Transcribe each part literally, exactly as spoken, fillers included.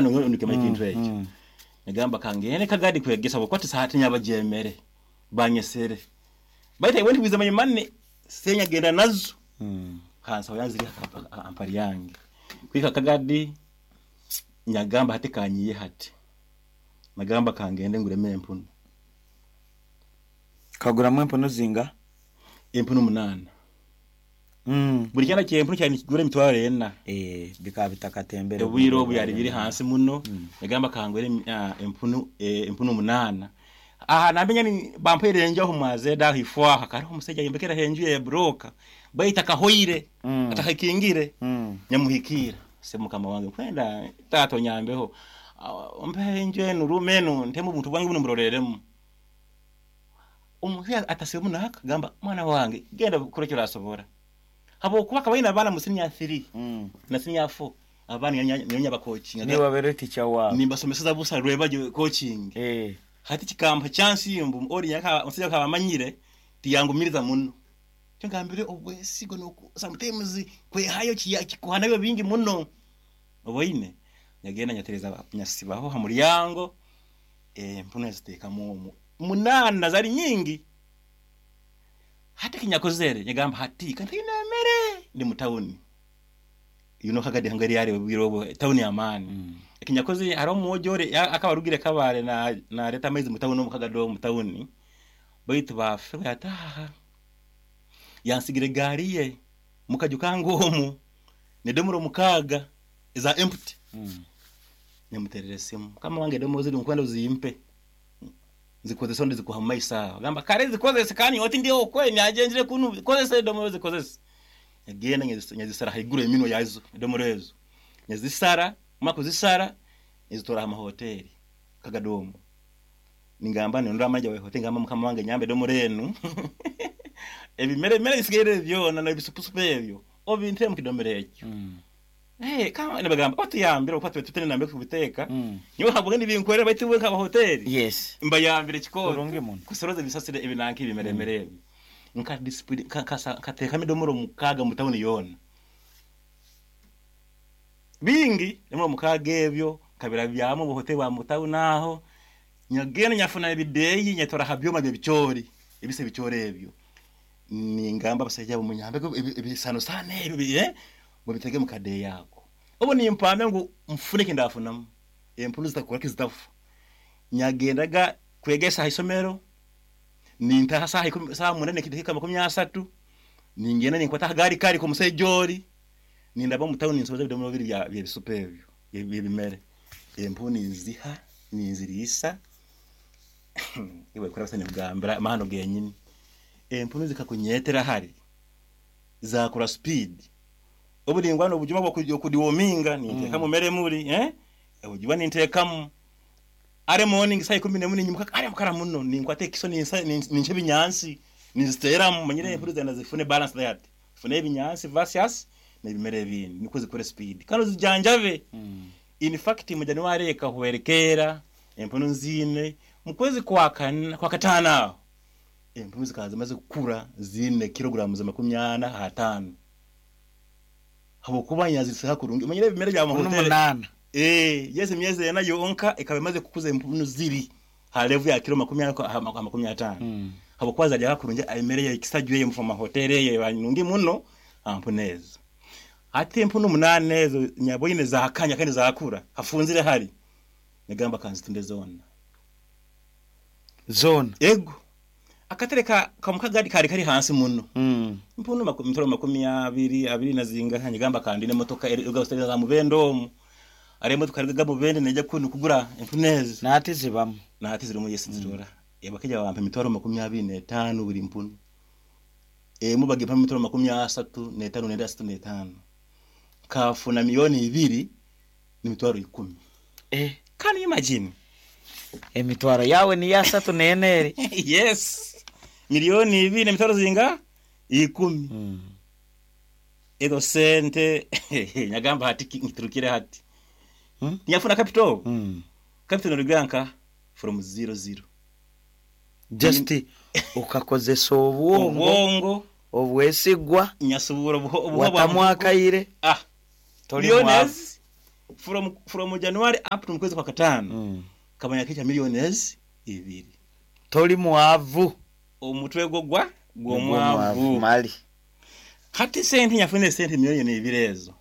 Nikimanya ekintu ekyo. Mm. Nagamba kangende Kagadi kwegesa bwokuba tisaati nyabagyemere banyesere, baitu I went with my money, senya genda nazo. Mm. Hansaho yanziri ampari yange kwika Kagadi. Nyagamba hati kanyiye, hati nagamba kangende ngureme empunu. Kaguramu empunu zinga? Empunu munaana. Mm. Buli kyana kyempunu kyali nikigura emitwaro ena. Eh, bikaba bitakatembere. Obwire obu byali biri hansi muno. Nagamba kangwere ah, empunu eh, empunu munaana. Aha namenya ni bampaire enju aho mwazeda aho ifwaha kariho omusajja yembekera enju ya broka, baitu akahoire, Mm. atakakingire. Mm. Nyamuhikira se mukama wange kwenda tato nyambeho. Ah, mpe enju enu, rume enu, ntemu obuntu bwange buno muroreremu. Omuhya atasemu naka gamba, "Mwana wange, genda kukora ekyo orasobora," habwokuba akaba aine abaana mu senior three Mm. na senior four, abaana nyonya bakoachinga. Niwe wabere teacher wawe? Nimbasomeseza busa rwebajo coaching. Eh. Hati kikampa chance mbu ori nyaka omusajja akaba amanyire tiyangumiriza muno. Kyo ngambire, obwesigo noku sometimes kwehayo kiya- kikuhanayo bingi muno. Oboine nyagenda nyatereza nyasibaho ha muryango, eh mpuna zitekamu omwo munana, zari nyingi. Hati kinyakozere nyagamba hati kandi emere ndi mu town, you know Kagadi hangari yari bwiro obwo town ya amani. Mm. Ekinyakoze, hariho omwojore akaba arugire Kabare na nareta amaizi mu town, omu Kagadi mu town, baitu bafe yataha yansigira egaari ye mukaju kange omu nedomoro mukaaga eza empty. Mm. Nyamuterera esimu, "Kama wange, edomoro ziri nkwenda uzimpe zikozese, ndi zikuha mumaiso aho." Gamba, "Kare zikozese kandi oti ndi okwe nyagenjire kunu, kozese edomoro, zikozese." Nyagenda nyazis- nyazisara haiguru eminwa yazo, edomoro ezo nyazisara, mara kuzisara nyazitora aha mahoteli Kagadomo. Ningamba nindora manager wa hoteli, ngamba, "Mukama wange, nyambe edomoro enu, ebimere mere bisigaire byona n'ebisupusupu ebyo obintere mu kidomero ekyo." Mm. Hey, kama nibagamba otuyambire okuba tube tutene nambe kubiteeka. Mm. Nyowe habwe nibinkorera, baitu we nkaba hoteli Yes. mbayambire kikoro. Kurungi muno. Kusoroza ebisasire ebinanka ebimeremere ebyo. Nka discipline nkateekamu edomoro mukaaga mu tawuni yoona, bingi, edomoro mukaaga ebyo nkabirabyamu obuhoteli bwa mu tawuni aho. Nyagenda nyafuna ebideeyi, nyatora ha byoma byebicoori, ebisa ebicoori ebyo. Ningamba abasajja abo, "Munyambe ebisanosano ebyo bi- eh, mubitege mu kadeeyi ako." Obu nimpamya ngu nfune ekindafunamu, empunu zitakora kizitafa. Nyagendaga kwegesa ha isomero, nintaha saaha ikumi, saaha mwenda nekidakiika makumi asatu, ningenda ninkwata akagaari kari k'omusajja ori, nindaba omu tawuni, ninsoboza ebidomoro bibiri bya byebisupu ebyo byebimere. Empunu ninziha, ninziriisa. Iwe kurabasa nikugambira amahano genyini, empunu zikakunyetera hari zakura speed. Obu ningwana obujuma bw'okudeworminga, ninteekamu mere muri eh obujuma ninteekamu are morning saa ikumi n'emwe, ninyimuka kare mukara muno, ninkwata ekiso, ninsa ninca ebinyansi, ninziteeramu. Manyire empunu zenda zifune balance diet, zifune ebinyansi versus n'ebimere ebindi, nikwo zikure speed kandi ozijanjabe. Mm. In fact, mu January ekahwerekera empunu nziine, mu kwezi kwa kana, kwa kataano aho empunu zikaba zimaze kukura ziine kilograms makumi ana ataano, habwokuba nyazisiha kurungi. Omanyire ebimere bya Empunu mahoteli. munana. Eh, yes, emyezi ena yonka ekaba emaze kukuza empunu ziri ha level ya kilo makumi ana ha ha makumi ataano, Mm. habwokuba zaryaga kurungi emere yekisaju eyo mu mahoteli eyo eba nungi muno ampunu ezo. Hati empunu munana ezo nyaboine zakanya kandi zakura hafunzire hari, nagamba kanzitunde zona. Zona? Ego, akatereka kamukagadi kari kari hansi muno. Mm. Mpunu maku- mitwaro makumi abiri abiri na zingaha. Nyigamba kandi n'emotoka za mubende omu ari emotoka eriga mubende nejja kunu kugura empunu ezo. Nati zibamu? Nati zirimu, yes, nzirora. Bakija bampa emitwaro makumi abiri n'etaano buri mpunu emu, bagimpa emitwaro makumi asatu n'etaano nenda asatu n'etaano, kafuna miliyoni ibiri n'emitwaro ikumi. Eh. Can you imagine? Emitwaro yawe ni asatu n'eneri? Yes, miliyoni ibiri n'emitwaro zinga ikumi. Mm. Ezo sente nyagamba hati ki- nkiturukire hati. Mm. Nyafuna capital. Mm. Capital noruganka from zero zero. Just ukakozesa obwongo. Obwongo. Obwesigwa. Nyasubura obuho obuho bwa Watamwakaire. ah Toli miliyoni mwavu. ezi. From from January up to mukwezi kwa katano Mm. kabanya kicha millions ibiri. Toli mwavu. Omutwe gwo gwa gw'omwavu. Mali. Hati sente nyafune sente miliyoni ibiri ezo.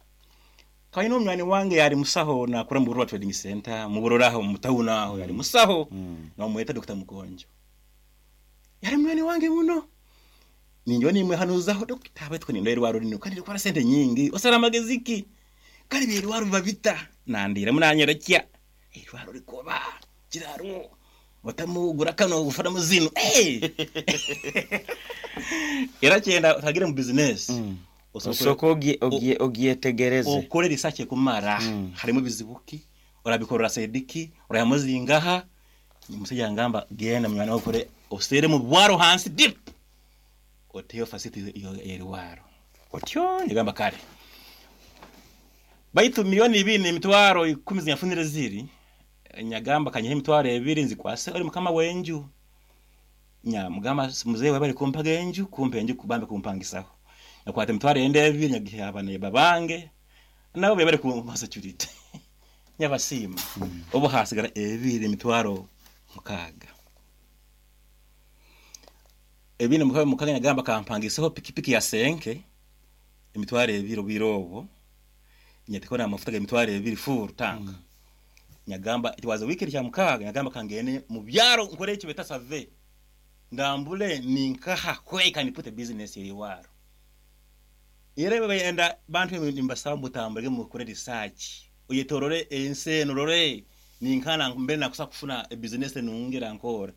Kaino omwani wange yali musaho nakora mu Burora Trading Center mu Burora aho mu town aho yali musaho. Mm. Namweta Doctor Mukonjo. Yali mwani wange muno. Ninjo nimwe hanuzaho Doctor abetwe ni ndwara rino kandi rikora sente nyingi osara amageziki. Kandi birwaro babita nandira munanyerekya. Irwaro rikoba kiraro batamugura kano gufara muzino. Eh. Era cyenda utagire mu business. Mm. Osokore Osoko ogie ogie ogyetegereze. Okore research kumara. Mm. Harimo bizibuki orabikorora sediki orayamuzingaha umusajja ngamba genda mwana okore osere mu bwaro hansi deep oteyo facility iyo yeriwaro otyo ngamba kale baitu milioni ibiri emitwaro ikumi zinyafunire ziri nyagamba kanyehe emitwaro ebiri nzikwase ori mukama wenju nya mugamba muzehe wabari kumpaga enju kumpe enju kubambe kumpangisaho nakwata emitwaro ende ebiri nyagihe abana babange nabo bebari ku security nyabasima Mm. obu hasigara ebiri emitwaro mukaga ebiri mukaga mukaga nyagamba kampangisaho pikipiki ya senke emitwaro ebiri obirobo nyatikona amafuta emitwaro ebiri full tank. Mm. Nyagamba it was a weekend kya mukaga nyagamba kangene mu byaro nkore icyo beta survey ndambule ninkaha where can put a business iriwaro ere bayenda bantu nimbasaba mutambulege mukore research uyetorore ense norore ninkana mbere nakusa kufuna a business nungera nkora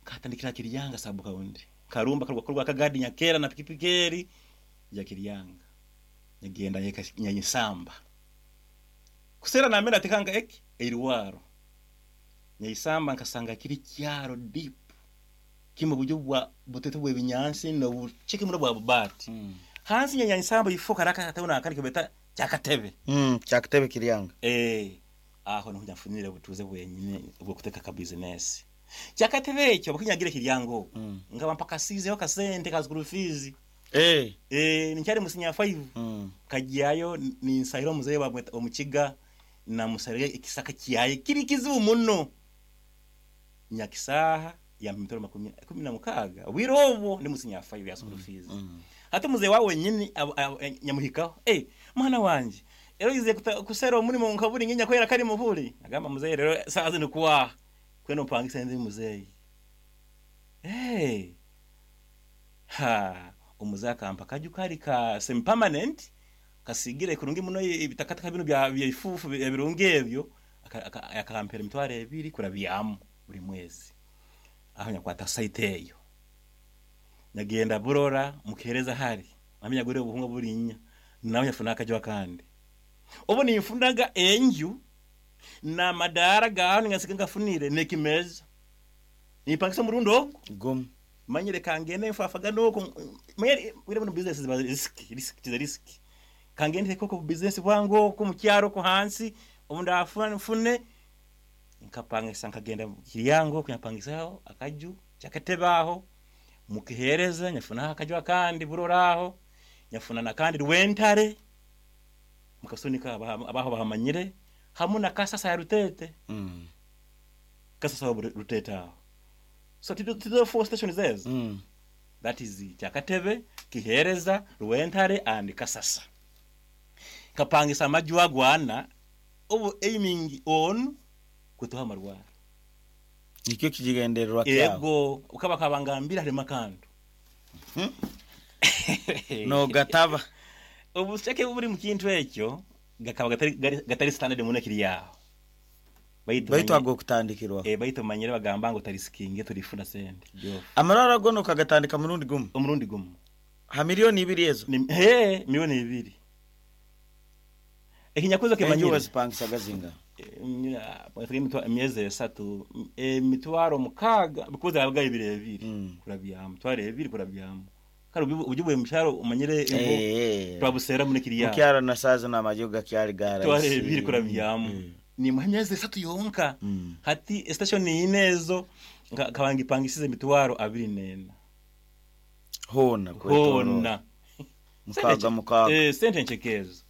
katandikira Kiryanga sabu kaundi karumba karwa korwa kagadi nyakera na pikipikeri ya Kiryanga nyagenda nyayisamba kusera na mera tikanga eki eriwaro nyayisamba nkasanga kiri kyaro deep kimwe buryo bwa butete bwe binyansi no bucheke muri bwa bubati. Mm. Hansi nyayisamba ifoka raka tauna akandi kibeta cyakatebe. Mm, cyakatebe Kiryanga. Eh aho no nyafunire butuze bwenyine bwo kuteka ka business cyakatebe icyo bakinyagira Kiryango. Mm. Ngaba mpaka size yo kasente ka school fees. Eh. Eh nicyari musinya five. Mm. Kagiyayo ni nsahiro muzehe bamweta omukiga na musarege ikisaka kiyaye kiri kizibu muno nyakisaha ya mitoro makumi kumi na mukaga wirobo ndi musinya five ya school fees. Mm. Hata muzehe wawe nyini nyamuhikaho eh mwana wanje ero ize kusera umurimo nkaburi nyinya kwera kari muhuri agamba muzehe rero sazi nikuwa kweno pangisa ndi muzehe eh ha umuzehe akampa kaju kari ka semi permanent kasigire kurungi muno ibitakataka bino bya bya ifufu birungi ebyo akampera emitwaro ebiri kurabyamu buri mwezi aho nyakwata site eyo nyagenda Burora mukereza hari amenya gore ubuhunga burinya nawe nyafuna akajwa kandi ubu nifundaga enju na madara gaho ngasiga ngafunire nekimeza nipangisa murundo Gum manyire kangene mfafaga noko manyire wire mu business ziba risk risk tiza risk kangende koko business bwango ko mu cyaro ko hansi ubu ndafuna mfune nkapangisa nkagenda Kiryango kunyapangisaho akaju cyakatebaho mukihereza nyafuna akaju akandi Buroraho nyafuna nakandi Rwentare mukasunika abaho bahamanyire hamu na Kasasa ya Rutete. Mm. Kasasa ya Rutete aho so to the four stations there. Mm. That is Kyakatebe, Kihereza, Rwentare and Kasasa. Kapangisa amaju agwana ubu aiming on kutuha amarwara. Nikyo kigendererwa kyawe. Ego ukaba kabangambira harimo akantu. Hmm? No gataba. Ubushake buri mu kintu ekyo gakaba gatari gatari standard mu nakiri yaho. Baitu Baitu ago kutandikirwa. Eh baitu manyere bagamba ngo tarisikinge turifuna sente. Amarara gono kagatandika murundi gumu. Umurundi gumu. Ha milioni ibiri ezo. Ni he milioni ibiri. Ekinyakuzo kemanyire. Enjuwe zipangisa gazinga. E, emyezi esatu emitwaro mukaga because abaga ibiri ebiri. Mm. Kurabyamu tware ebiri kurabyamu. Kare ujibwe msharo umanyire eh twabusera muri kiriya. Mukyaro na sazo na majoga kyari gara. Tware ebiri kurabyamu. Mm. Ni muhemyezi esatu yonka. Mm. Hati station inezo kabangipangisize emitwaro abiri nena. Hona hona. Mukaga mukaga. Eh sente nchekezo.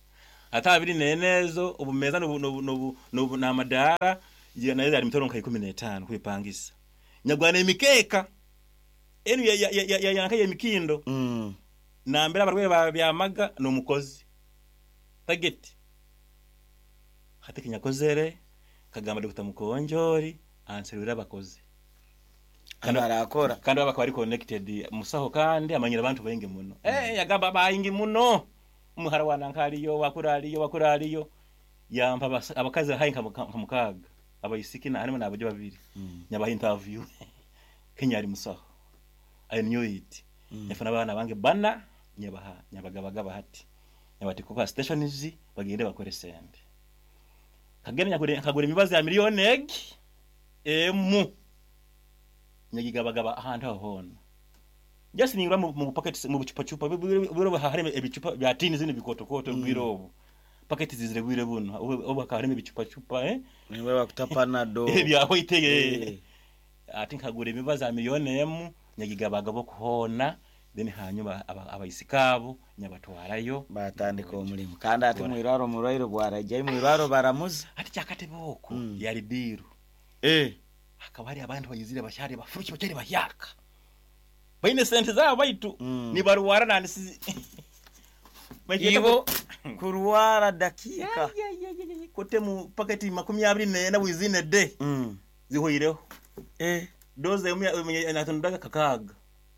Ate abiri n'eneezo obumeeza n'obu- n'obu- n'obu- n'obu- n'amadaara ya- nayo yali mitwaro nka ikumi n'etaano kwepangisa. Nyagwana emikeeka enu ya- ya- ya- ya- yanka y'emikindo Mm. nambere abarwaire babyamaga n'omukozi tageti. Hati kinyakozere kagamba Dr. Mukonjori anserwire abakozi Kandi- Barakora. kandi baba bari connected musaho kandi amanyira abantu baingi muno. Eh, yagamba baingi muno, umuhara wananka aliyo, wakura aliyo, wakura aliyo, yampa abas- abakazi hayi nka muka- nka mukaaga abaisiki na harimo n'abajo babiri. Mm. Nyabaha interview. Kenya ali musaho, I knew it. Mm. Nyafuna abaana bange bana, nyabaha nyabagabagaba hati nyabati kuba stations bagende bakore sente. Kagenda nyakure kagura imibazi ya miliyoni egi emu, nyagigabagaba ahantu aho hona, just ningura mu, mu packet, mu bucupa chupa bwiro, harimo ebicupa bya tini zino bikotokoto. Mm. Bwiro obu packet zizire bwire buno obu obu hakaba harimo ebicupa chupa, eh. Niwe bakuta Panado. Ebya white. Eh. Ati nkagura emibazi ya miliyoni emu, nyagigabagaba okuhoona, then hanyuma aba- abaisikaabo nyabatwarayo. Batandika omulimu kandi ati mwirwaro omurwaire bwarajyayo mwirwaro baramuza. Ati kyakatebe okwo Mm. yali diiru. Eh. Hakaba hari abantu bayizire bahyari bafuruki bakyari bahyaka baine sente zaabo baitu Mm. nibarwara nandisi. Ibo kurwara dakika. Kote mu paketi makumi abiri nena within a day Mm. zihoireho. Eh. Doze emwe natundaga kakaaga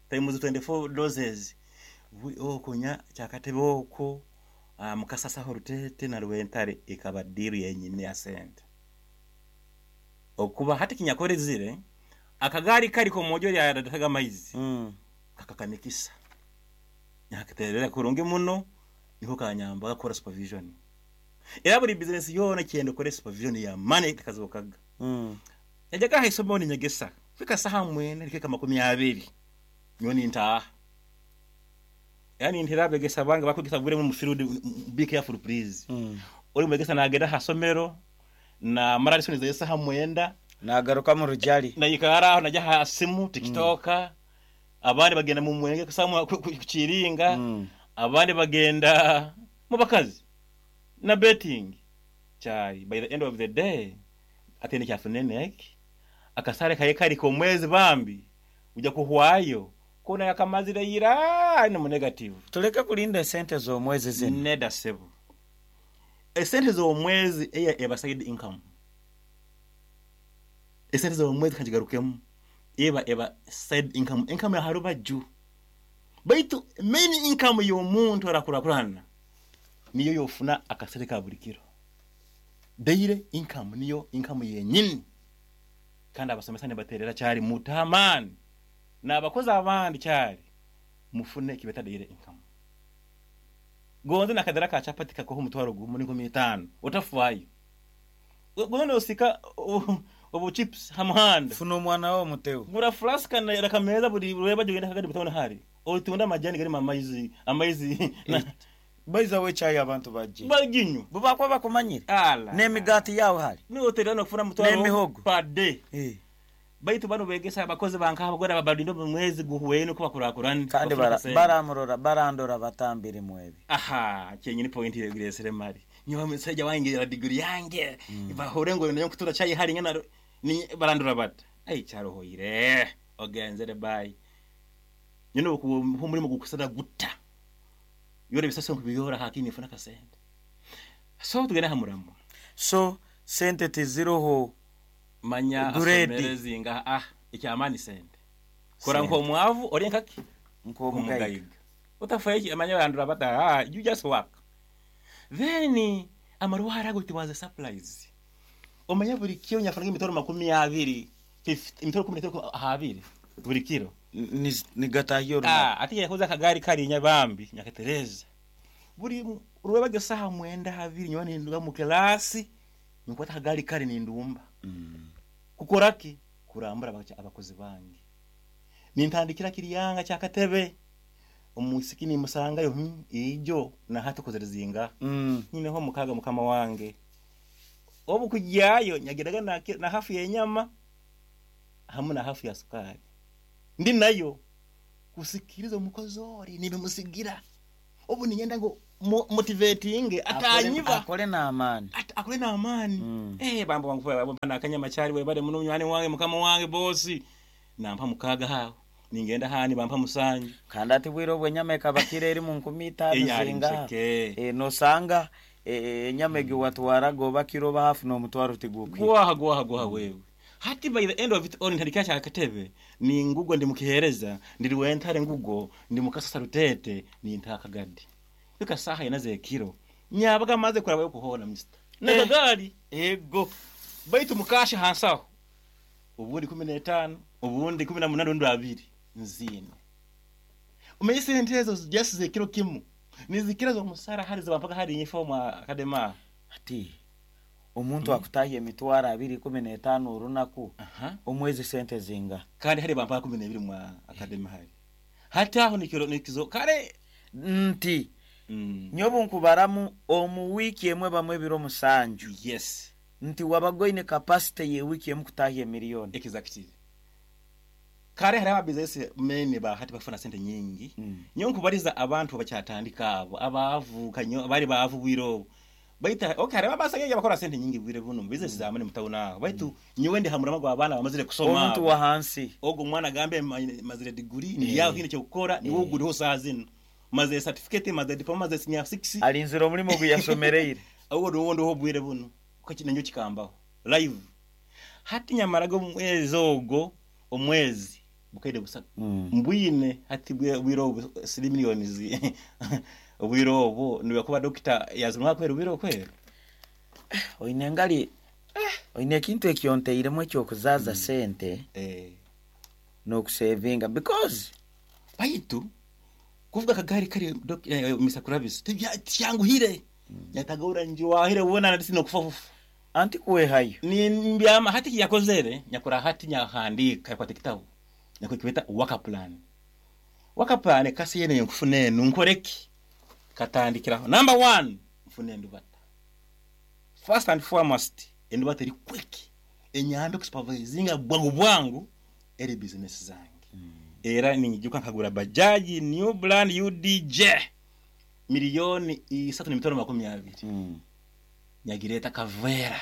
times twenty-four doses. Bu- okunya kyakatebe okwo, ah, mukasasaho rutete na rwentare ekaba diru yenyine ya sente okuba hati kinyakorezire akagari kari komojo lyarataga amaizi. Mm. Kakakamikisa nyakaterera kurungi muno, niho kanyamba gakora supervision, era buri business yona kyenda ukore supervision ya money kazokaga. Mm. Yajyaga aha isomero ninyegesa fika saha mwenda rikeka makumi abiri nyo nintaha, yani ntera abegesa bange bakwegesa bure mu field. Be careful, please. Mm. Uri mwegesa nagenda ha somero na mara lesson za saha mwenda. Nagaruka mu rujali. Nayikara aho najya ha simu TikTok, abandi bagenda mu mwenge kusamwa ku ku- kukiringa. Mm. Abandi bagenda mu bakazi na betting chai. By the end of the day atene kyafuneneki akasare kaye kari ko mwezi bambi ujya kuhwayo kona yakamazire ira ni mu negative. Tuleke kulinda esente z'omwezi zino. Neda sebo, esente z'omwezi eya eba side income. Esente z'omwezi kanjigarukemu eba eba side income, income ya harubaju, baitu main income y'omuntu arakurakurana niyo yofuna akasente ka buri kiro. Daily income niyo income yenyini, kandi abasomesa nibaterera cyari mutamani n'abakozi abandi cyari mufune kibeta daily income. Gonze nakadara ka chapati kakoho umutwaro gumu n'inkumi itanu utafuayo, gonze osika obu chips hamuhanda. Funa omwana wo mutewo. Gura flask na rakameza buri rweba jogenda kagadi butabona hari otunda amajani gari amaizi amaizi na Baiza we chai abantu bajje. Baginywa. Bubakwa bakumanyire. Ala. N'emigaati yawe hari. Niotera no kufuna mutwaro N'emihogo. per day. Eh. Baitu bano begesa abakozi banka abagora babalinda mu mwezi guhuwene ko bakurakurana. Kandi bara- baramurora barandora batambire mwebi. Aha cyenyine point yegiresere mari nyoba musajja wange ya degree yange mm. Bahure ngo nayo kutura chayi hari ngana ni barandura bata ai cyarohoire ogenzere bye nyine ku muri mu gukusana guta yore bisaso kubiyora hakini funa kasente so tugenda hamuramo. So sente teziroho. Manya. Grade. Asomere zinga ah icyamani sente kora Sente. nko mwavu ori nkaki. Nk'omugayiga. Omugayiga utafaye amanya barandura bata ah you just work. Then amarwara ago it was a surprise. Omanya buri kiro nyafaranga imitoro makumi abiri, fifty, imitoro kumi n'itanu ahabiri buri kiro. Ni- nigatahiyo runaku. Ah, ati yakoze akagari karinya bambi nyakatereza buri rwebage saha mwenda habiri nyowa ninduga mu kelasi nkwata akagari kari nindumba. Mm. Kukoraki kurambura abaca- abakozi bange nintandikira kiriyanga cyakatebe omusiki nimusangayo hmm, ijo nahatukozere zinga. Mm. Nyineho mukaga mukama wange obu kujyayo nyagiraga na, na hafu yenyama hamwe na hafu ya sukari ndi nayo kusikiriza omukozi ori nibimusigira obu ninyenda ngo mo- motivating atanyiba akole n'amaani. At- akole n'amaani. Mm. Eh, bambo wangu nakanyama kyali webale muno munywani wange, mukama wange bosi, nampa mukaaga hawo, ningenda hani bampa musanju. Kandi ati bwire obwo enyama ekaba kiro eri mu nkumi itaano. Eyali zinga museke. Eh, nosanga eh, enyama egi watwaraga oba kiro oba hafu n'omutwaro tigukwiye. Gwaha gwaha gwaha wewe. Hati by the end of it all, ntandikira kyakatebe ni ngugo ndi mukihereza ndiri wentare ngugo ndi mukasasa rutete ni ntakagadi bika saha inaze kiro nyabaga maze kuraba yo kuhona mister nakagali. Ego. Baitu mukasha hansaho ubundi kumi n'etaano, ubundi kumi na munani, ubundi abiri nzine. Umenye sente ezo just zekiro kimu nizikira zomusara hari zibampaka hari uniform akadema. Ati omuntu akutahya emitwaro abiri kumi n'etaano orunaku, aha omwezi sente zinga? Kandi hari bampaka kumi n'ebiri mwa akademi hari hati aho nikiro nikizo kale. Nti mm. nyobu nkubaramu omu wiiki emwe bamwe ebiro musanju, yes nti wabaga oine capacity ye wiiki emu kutahya emiliyoni. Exactly. Kale hari ababizinesi mene ba hati bafuna sente nyingi. Mm. Nyo nkubariza abantu bakyatandika abo abavuka nyo bari bavu bwiro baita okay, hari abasageje bakora sente nyingi bwire buno mu business zamane mutawuna aho, baitu nyowe ndi hamurama gwa abana bamazire kusoma. Omuntu wa hansi. Ogo mwana agambe ma- mazire degree ni yaho kine cyo gukora ni wowe uguriho saa zino, maze certificate, maze diploma, maze senior six. Alinzira omulimo gwe yasomereire. Ahubwo niwo ndiho bwire buno ko kinenyo kikambaho live. Hati nyamaraga omwezi ogwo omwezi bukaire busatu Mm. mbwine hati bwe- bwire obu siri miliyoni zi obwire obu niwe kuba dokita yazimwa kwera obwire okwera. Oine engali oine ekintu ekyonteiremu ekyokuzaaza sente eh n'okusevinga because baitu kuvuga akagari kari dok- eh, Mister Kravis tyanguhire nyatagura njiwahire ubona ndisi no kufa fufu. Anti kuwehayo. Ni mbyama hati yakozere nyakura hati nyahandika yakwata ekitabo nyakukibeta work plan. Work plan kasi yene nkufuna enu nkoreki katandikiraho number one, nfune endubata. First and foremost, endubata eri quick enyambe kusupervisinga bwangu bwangu eri business zange. Era ninyijuka nkagura bajaji new brand U D J miliyoni isatu n'emitwaro makumi abiri. Mm. Nyagireta kavera,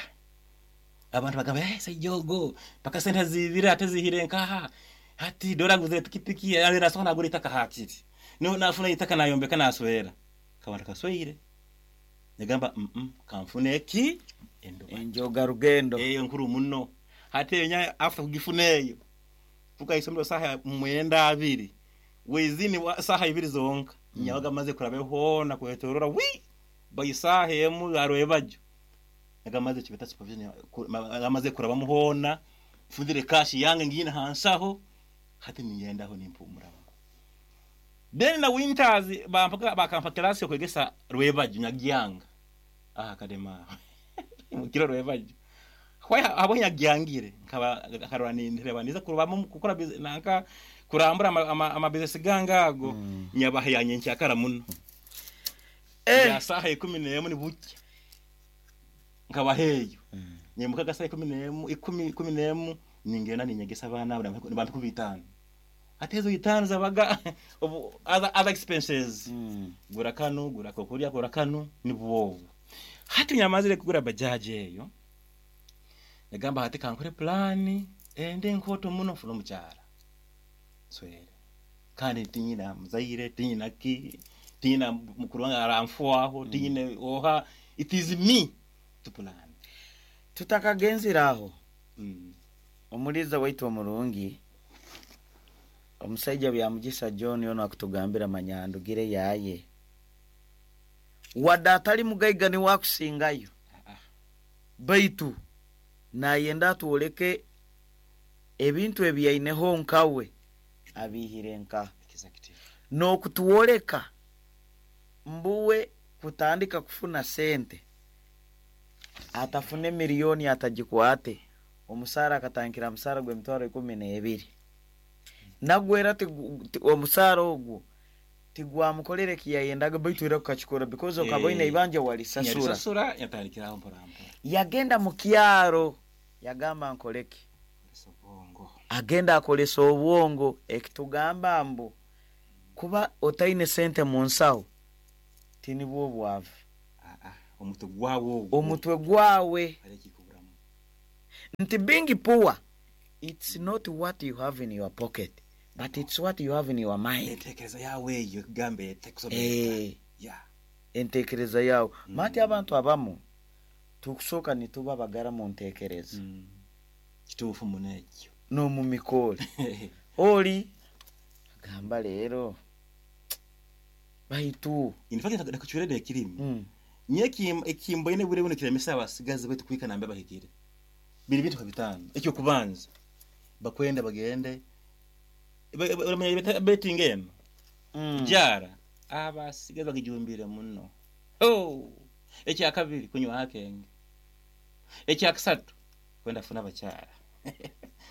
abantu bagamba, "Eh, saijogo paka sente zibira ate zihire nkaha hati dora nguze pikipiki ane nasoka nagura itaka hakiri no nafuna itaka nayombeka naswera kabanta kasweire." Nagamba, mm -mm, kanfune eki enduba." Enjoga rugendo. Eyo nkuru muno. Hati enya after kugifuna eyo fuka isomero saha mwenda abiri wezini wa saha ibiri zonka mm. Nyabaga maze kurabe hona kwetorora wi bayisaha emu arwebajo nagamaze kibeta supervision nagamaze kuraba muhona mfundire cash yange ngine hansaho hati ningendaho nimpumura. Then na winters bampaka bakampa class yo kwegesa rwebajo nyagyanga ah kadema mukiro rwebajo hwa abo nyagyangire nkaba akarora nindireba niza kurubamo gukora busi- nanka kurambura ama, ama, ama business gangago mm. Nyabaha yanye ncyakara muno. Eh. Ya saha ikumi n'emu ni buke nkaba heyo nyemuka gasaha ikumi n'emu, ikumi kumi n'emu ningenda ninyegesa abana abo bampe ku bitanu ate ezo itanu zabaga ubu other, other expenses. Mm. Gura kano, gura kokurya, gura kano ni bwobu. Hati nyamazire kugura bajaji eyo nagamba hati kankore plani ende nkoto muno mfuna omukyala swere kandi tinyina muzaire, tinyina ki, tinyina mukuru wange aramfuaho, tinyine oha, it is me to plan. Tutakagenzire aho, mm. omuliza waitu omurungi omusaija Byamugisa John ono akutugambira manyandugire yaye wadde atali mugaiga niwakusingayo, Ah, baitu nayenda atwoleke ebintu ebyaineho nkawe abihire nka exactly n'okutwoleka mbuwe kutandika kufuna sente atafune miliyoni atagikwate omusaara akatandikira musaara gw'emitwaro ikumi n'ebiri nagwera tigu- ti- omusaara ogwo tigwamukolere kiyayendaga baitu era kukakikora because okaba oine Eh, ibanja walisasura. Nyalisasura yatandikiraho mpora mpora. Yagenda mu kyaro yagamba nkoleki? Sobongo. Agenda akolesa obwongo ekitugamba mbu kuba otaine sente mu nsawo. Tinibwo obwavu. Ah, ah, omutwe gwawe ogwo. Omutwe gwawe. Hariho ekikuburamu. Nti being poor, it's not what you have in your pocket, but it's what you have in your mind. Entekereza yawe eyo ekugamba ete Eh, yeah. Entekereza yawe. Mati abantu abamu tukusooka nituba bagara mu ntekereza Mm. Kituufu muno ekyo. N'omu mikole. Oli agamba leero baitu In fact, nakucwirede ekirimi mm. niyo ekimboine bure buno kiremesa abasigazi baitu kwika nambe bahikire biri bintu nka bitano. Ekyokubanza, bakwenda bagende Ba- ba- oramanya beta- betting eno Mm. jara abasigazi bagijumbire muno. Oh, ekyakabiri, kunywa akenge. Ekyakusatu, kwenda afuna abakyara,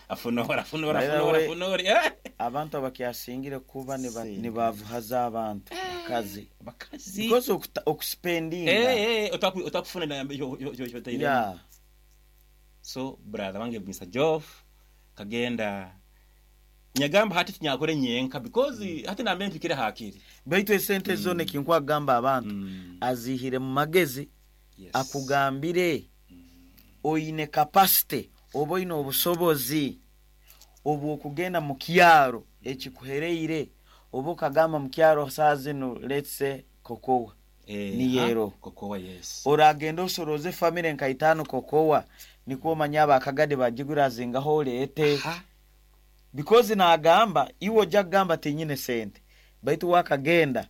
afunora, afunora, By the afunora, way, afunora. Eh! Abantu abakyasingire kuba niba- Sente. nibavuhaza abantu bakazi bakazi because okuta- okuspendinga. Eh, eh, otaku- otakufuna na yeah. So brother wange Mister Joff kagenda nyagamba hati tinyakore nyenka because hati nambe mpikire hakiri. Baitu esente zona ekinkwagamba abantu mm. azihire mu magezi. yes. Akugambire oine capacity oba oine obusobozi obwokugenda mu kyaro ekikuhereire, oba okagamba mu kyaro saa zino, let's say kokowa Eh, ni ha? yero. Kokowa, yes. Oragenda osoroze famire nka itaano kokowa, nikwo omanya abakagade bagigurazingaho oleete Ha? because nagamba iwe ojja kugamba tinyine sente, baitu wakagenda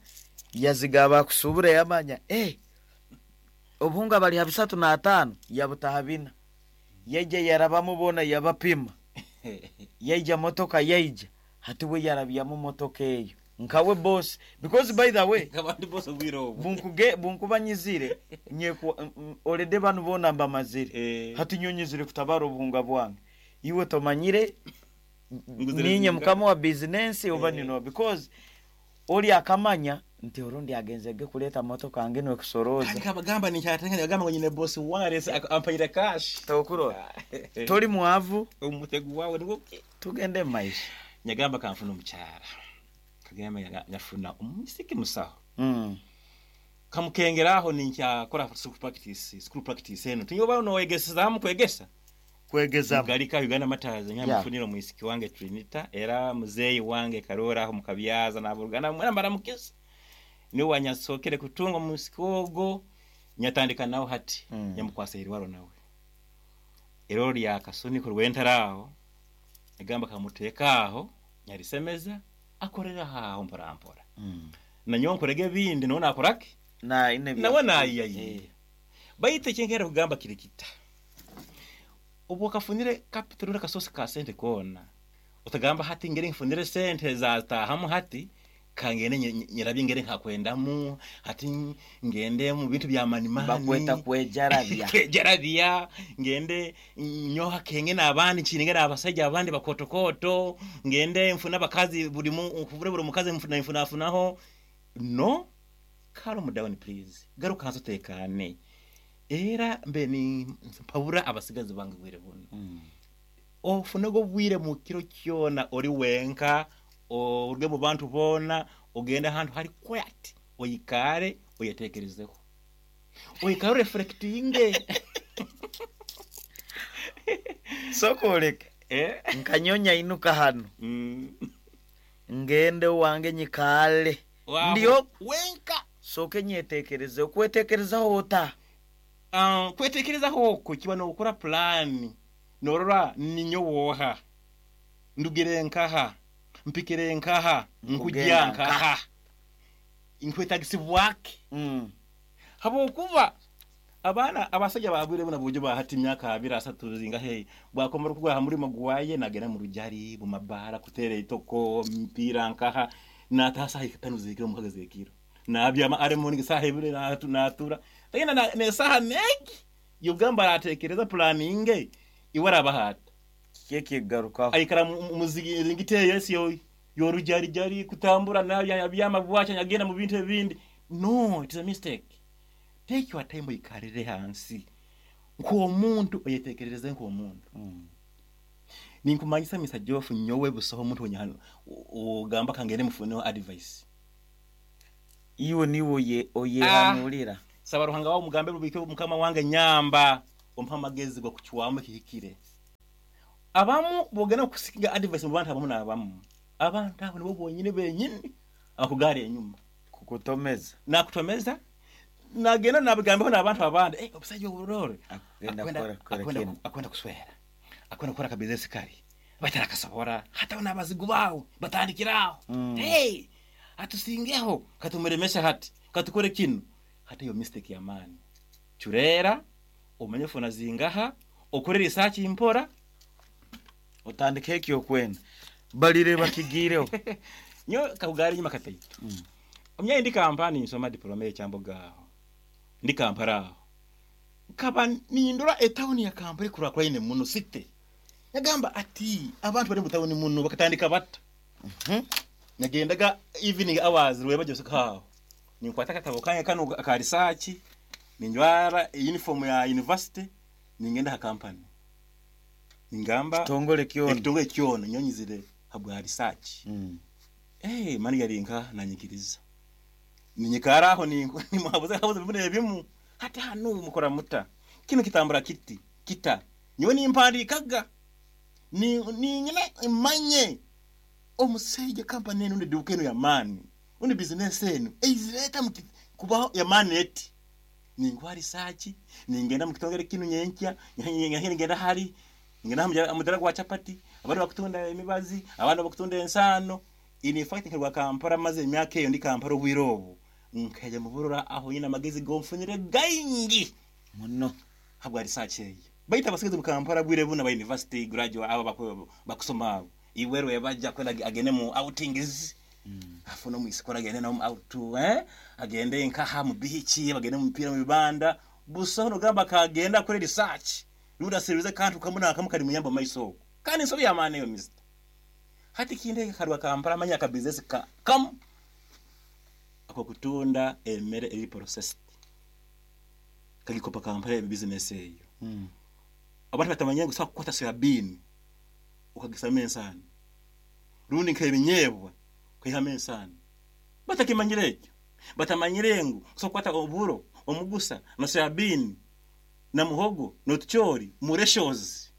yazigaba akusubura yamanya, eh, obuhunga bali ha bisatu n'ataano, yabutaha bina, yaija yarabamubona, yabapima, yaija motoka yaija hati we yarabyamu motoka eyo nkawe boss, because by the way abandi bose obwire obwo bunkuge bunkuba nyizire nyekwa olede banu bona mbamazire. Eh. Hati nyonyizire kutabara obuhunga bwange, iwe tomanyire Nguzire ninye zinga. Mukama wa bizinensi oba Eh. nino, because oli akamanya nti orundi agenzege kuleeta motoka nge nwekusoroza. Kandi kabagamba nikyatenganya bagamba ngo nyine boss wange ampaire cash. Tokurora toli mwavu. Omutego wawe nigwo. Tugende mu maisha. Nyagamba kanfuna omukyara, kagamba nyaga- nyafuna omusiki musaho mm. kamukengeraho ninkyakora school practice school practice eno tinyoba nowegesezamu kwegesa. Kwegezamu. Galika Uganda Matazi. Yeah. Nyamufunira omwisiki wange Trinita, era muzeeyi wange Karora aho mukabyaza naburuganda mwena mbaramukisa, niwe wanyasokere kutunga omusiki ogwo, nyatandika nawe hati. Mm. Nyamukwasa irwaro nawe ero lya kasuniko rwentara aho, egamba kamuteeka aho, nyarisemeza akorera aho mpora mpora. mm. Nanyowe nkorege ebindi, nawe nakoraki. Na ine bya- Nawe nayiyayiye. Eh. Baitu ekyenkera kugamba kiri kita, obu okafunire capital uri akasosi ka sente koona, otagamba hati ngere nfunire sente zatahamu, hati kangende nye- nye- nyerabye ngere nkakwendamu, hati ngende mu bintu bya manimani. Bakweta kwejarabya. Kwejarabya, ngende nyoha kenge n'abandi, nkiringe n'abasajja abandi bakotokoto, ngende nfune abakazi buri mu nfune buri mukazi nfuna nfunafunaho. No, calm down please, garuka hansi utekane. Era mbe ni mpabura abasigazi bange bwire buno, Mm. ofunego bwire mu kiro kyona ori wenka, oruge mu bantu boona, ogende ahantu hari quiet, oyikare, oyetekerezeho, oyikare oreflectinge. Sokoleke Eh? nkanyonya inuka hano Mm. ngende wange nyikale. Waho, Ndiyo. wenka. Soke nyetekereze, okwetekerezaho ota? Um, kwetekerezaho okwo kiba nokora plan, norora ninyo woha, ndugire nkaha, mpikire nkaha, nkujya Nkugenda nkaha, nkwetagisibwake. mm. Habwokuba abaana abasajja babwire buna bujo bahati emyaka abiri asatu zingahe, bwakomera okugwa ha murimo gwaye, nagenda mu rujari mu mabara kutera itoko mpira nkaha, nataha saha itano zekiro, mukaga zekiro, nabyama ari morning saha ibiri, natu natura tagenda na nesaha negi yogamba aratekereza planning iwe arabahata. Kyekigarukaho. Aikara muzingite yesi yo yorujarijari kutambura nayo byama bwacha nyagenda mu bintu ebindi. No, it is a mistake. Take your time, oyikarire hansi nk'omuntu, oyetekerereze nk'omuntu. mm. Ninkumanyisa Mister Joff, nyowe busoho omuntu onyahano ogamba kangende mufuneho advice. Iwe niwe oyehanurira. Saba Ruhanga wawe mugambe rubike mukama wange nyamba ompa amagezi gokuchwamu kihikire. Abamu bogena kusikiga advice mu bantu abamu n'abamu. Abantu abo nibo bonyine benyini akugara enyuma. Kukutomeza. Nakutomeza. Nagenda nabigambeho n'abantu abandi. Eh, obusajja oburore. Akwenda akwenda akwenda kuswera. Akwenda kukora ka business kari. Batara kasobora. Hata n'abazigu bawo batandikiraho. Mm. Hey, atusingeho katumeremesha hati. Katukore kino. Hata iyo mistake ya mani. Churera umenye funa zingaha okore research impora otandike ekyo kwenda balire bakigireho nyo kakugari nyuma kataito. Mm. Omnya ndi kampani nsoma diploma y'ekyamboga aho ndi Kampala aho kaba nindura etawuni ya Kampala kura kwaine muno city yagamba ati abantu bari mu tawuni muno bakatandika bata. Mm -hmm. Nagendaga evening hours rweba jose kaho ninkwata katabo kanye kano ka research ninjwara uniform ya university ningenda ha company ningamba kitongole kyono kitongole kyono nyonyizire habwa research. Mm. Eh mani yarinka nanyikiriza ninyikara aho ni muhabuze habuze bimwe ebimu hata hano mukora muta kino kitambura kiti kita nyowe nimpandikaga ni ni nyina imanye omusajja company eno ndi eno ya mani undi business eno eizireta kubaho ya mani eti ningwa research ningenda mu kitongere kino nyenkya ngenda hari ngenda amudara gwa chapati abandi bakutunda emibazi abandi bakutunda ensano. In fact nkarwa Kampala maze emyaka eyo ndi Kampala obwirobo nkaja muburura aho yina magezi gomfunire gaingi muno habwa research eyo baita basigaze mu Kampala bwire buna ba university graduate aba bakusoma iweru yabaja kwenda agende mu outings. Mm. Afuno mu isikora agende na out eh agende nkaha mu beach bagende mu mpira mu bibanda buso no gamba kagenda kuri research runda serize kantu kamuna kamukari muyamba maiso kandi nsobi ya mane yo mister hati kinde karwa Kampala manya ka business ka kam ako kutunda emere eri processed kagikopa Kampala business eyo. Mm. Abantu batamanya gusa kukwata soya bean ukagisama ensano rundi nkebinyebwa kihame ensano batakimanyire ekyo batamanyire ngu so kwata oburo omugusa na soya bean na muhogo notuchori mureshozi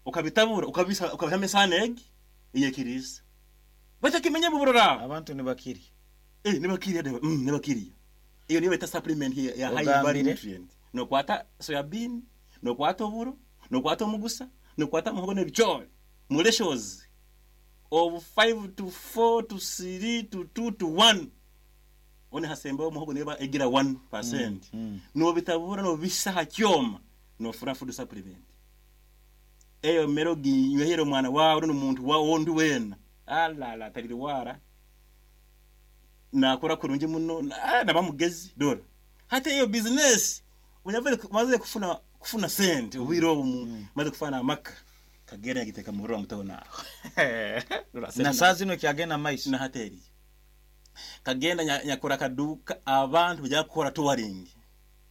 ukabitabura ukabisa ukabihame ensano egi iyekiriza batakimenya buburora abantu nibakiri eh nibakiri mm nibakiri iyo niyo beta supplement ya, ya high value nutrient no kwata soya bean no kwata oburo no kwata omugusa no kwata muhogo nebichori mureshozi of five to four to three to two to one one hasemba muhogo neba egira one percent. Mm, mm. No bitabura no bisaha kyoma no fura food supplement eyo merogi nywehero mwana wawe no muntu wa wondi wena ala la talirwara nakora kurungi muno nabamugezi dora hata iyo business unyavele maze kufuna kufuna cent ubiro mm. Maze kufana amaka kagera giteka murura mutona na sazi no kyagenda maiso na hateri kagenda nyakora kaduka abantu bya kukora touring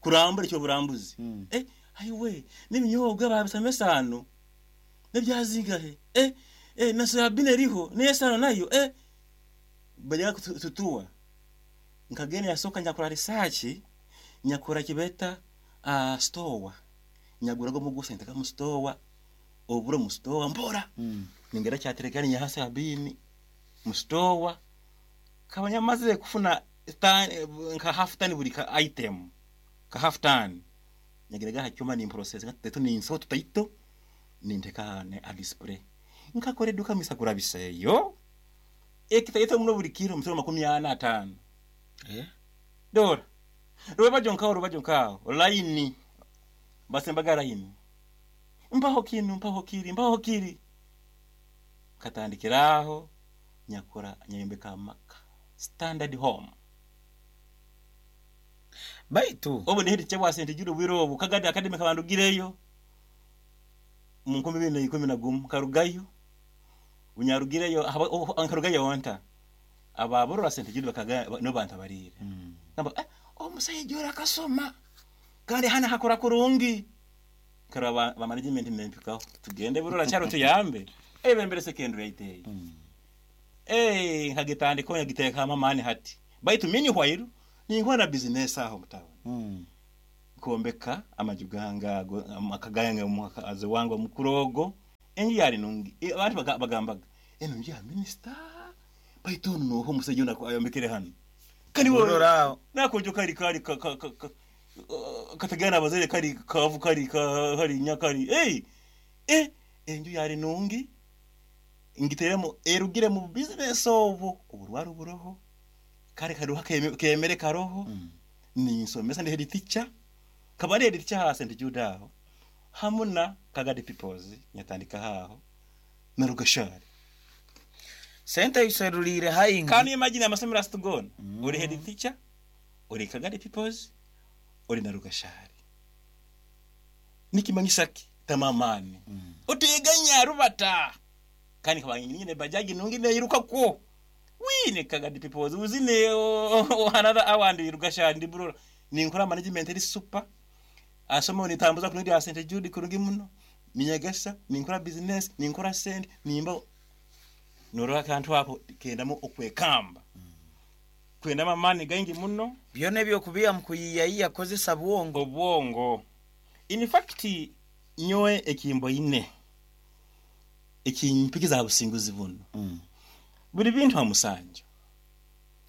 kurambura icyo burambuzi. Mm. Eh ayiwe n'iminyobwa babisamesano nebyazingahe eh eh na soya bean eriho n'esano nayo eh bajya tutua nkagenda yasoka nyakora research nyakora kibeta uh, store nyagura go mugusa ntaka mu store oburo mu store mbora. Mm. Ningera cyaterekani nyahasa ya bini mu store kabanya maze kufuna tan nka half tan buri ka item ka half tan nyagerega hacyuma ni process gatatu ni inso tutaito ninteka ne a display nkakore duka misakura biseyo ekitaito muno buri kilo msoro makumi ana atano. Eh dora ruba jonka ruba jonka line basembaga line mpaho kinu mpaho kiri mpaho kiri katandikiraho nyakora nyayombeka maka standard home baitu obu ni hiti chabwa sente juru bwirobu kagadi academy kabandugireyo mu nkumi bibiri na ikumi na gumu karugayo unyarugireyo ankarugayo wanta ababurura sente juru bakaga no bantu barire. Mm. Namba eh omusajja ora kasoma kandi hana hakora kurungi karaba ba management mempikaho tugende burura cyaro tuyambe ebembere secondary ayiteye. Mm. Eh nkagitandiko nyagiteka amamani hati baitu minyi hwairu Ninkora na business aho mutauni. Mm. Nkombeka amaju gange ago, amaka gange omukazi wange omukuru ogo, enju yali nungi. E, abantu baga- bagambaga eno nju ya minisita, baitu onu noho omusajja ono ayombekere hanu. Kani wowe- Orora aho. Nakojo kali kali ka, ka, ka, ka, uh, katagana abazaire kali kavu kali ka, kali nyakali hey! Eh, enju yali nungi, ngiteremu erugire mu business obwo oburwaro buroho kale karuha keme- kemere karoho. Mm. Ninsomesa, ndi head teacher, kaba ndi head teacher ha Saint Jude aho hamu na Kagadi Peoples, nyatandika haho na Rugashari. Sente iserulire haingi. Kandi imagine amasomero asitugona. Mm. Uri head teacher, uri Kagadi Peoples, uri na Rugashari, nikimanyisa ki tamamani. Mm. Utiganya rubata kandi kaba nyine bajaji nungi neyiruka kwo wine Kagadi Peoples uzine o- o- another hour ndi Rugashari, ndi burora ninkora management eri super asoma nitambuza kundi ya Saint Jude kurungi muno, ninyegesa, ninkora business, ninkora sente, nimba norora akantu ako kendamo okwekamba kwendamo amani gaingi muno. Byona ebyokubiya mu kuyiyayiya kozesa bwongo. Obwongo. In fact, nyowe ekimbo ine ekimpikiza businguzi buno Mm. buli bintu amusanju.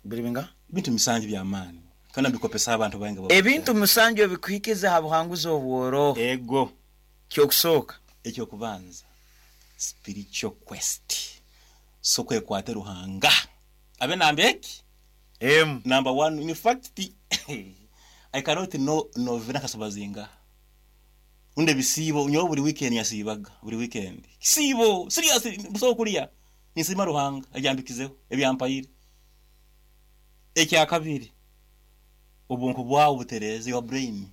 Biri binga? Bintu misanju byamaani kandi mbikopesa abantu bange bo- Ebintu musanju ebikuhikiza ha buhanguzi obworo. Ego. Kyokusooka? Ekyokubanza, spiritual quest, so kwekwata Ruhanga abe namba eki. Emu. Number one. In fact, I cannot know novena kasobazinga unde bisibo. Nyowe buli weekend yasibaga, buli weekend sibo serious buso kulya nisima Ruhanga abyambikizeho ebyampayire. Ekyakabiri, obwonko bwawe butereze, your brain.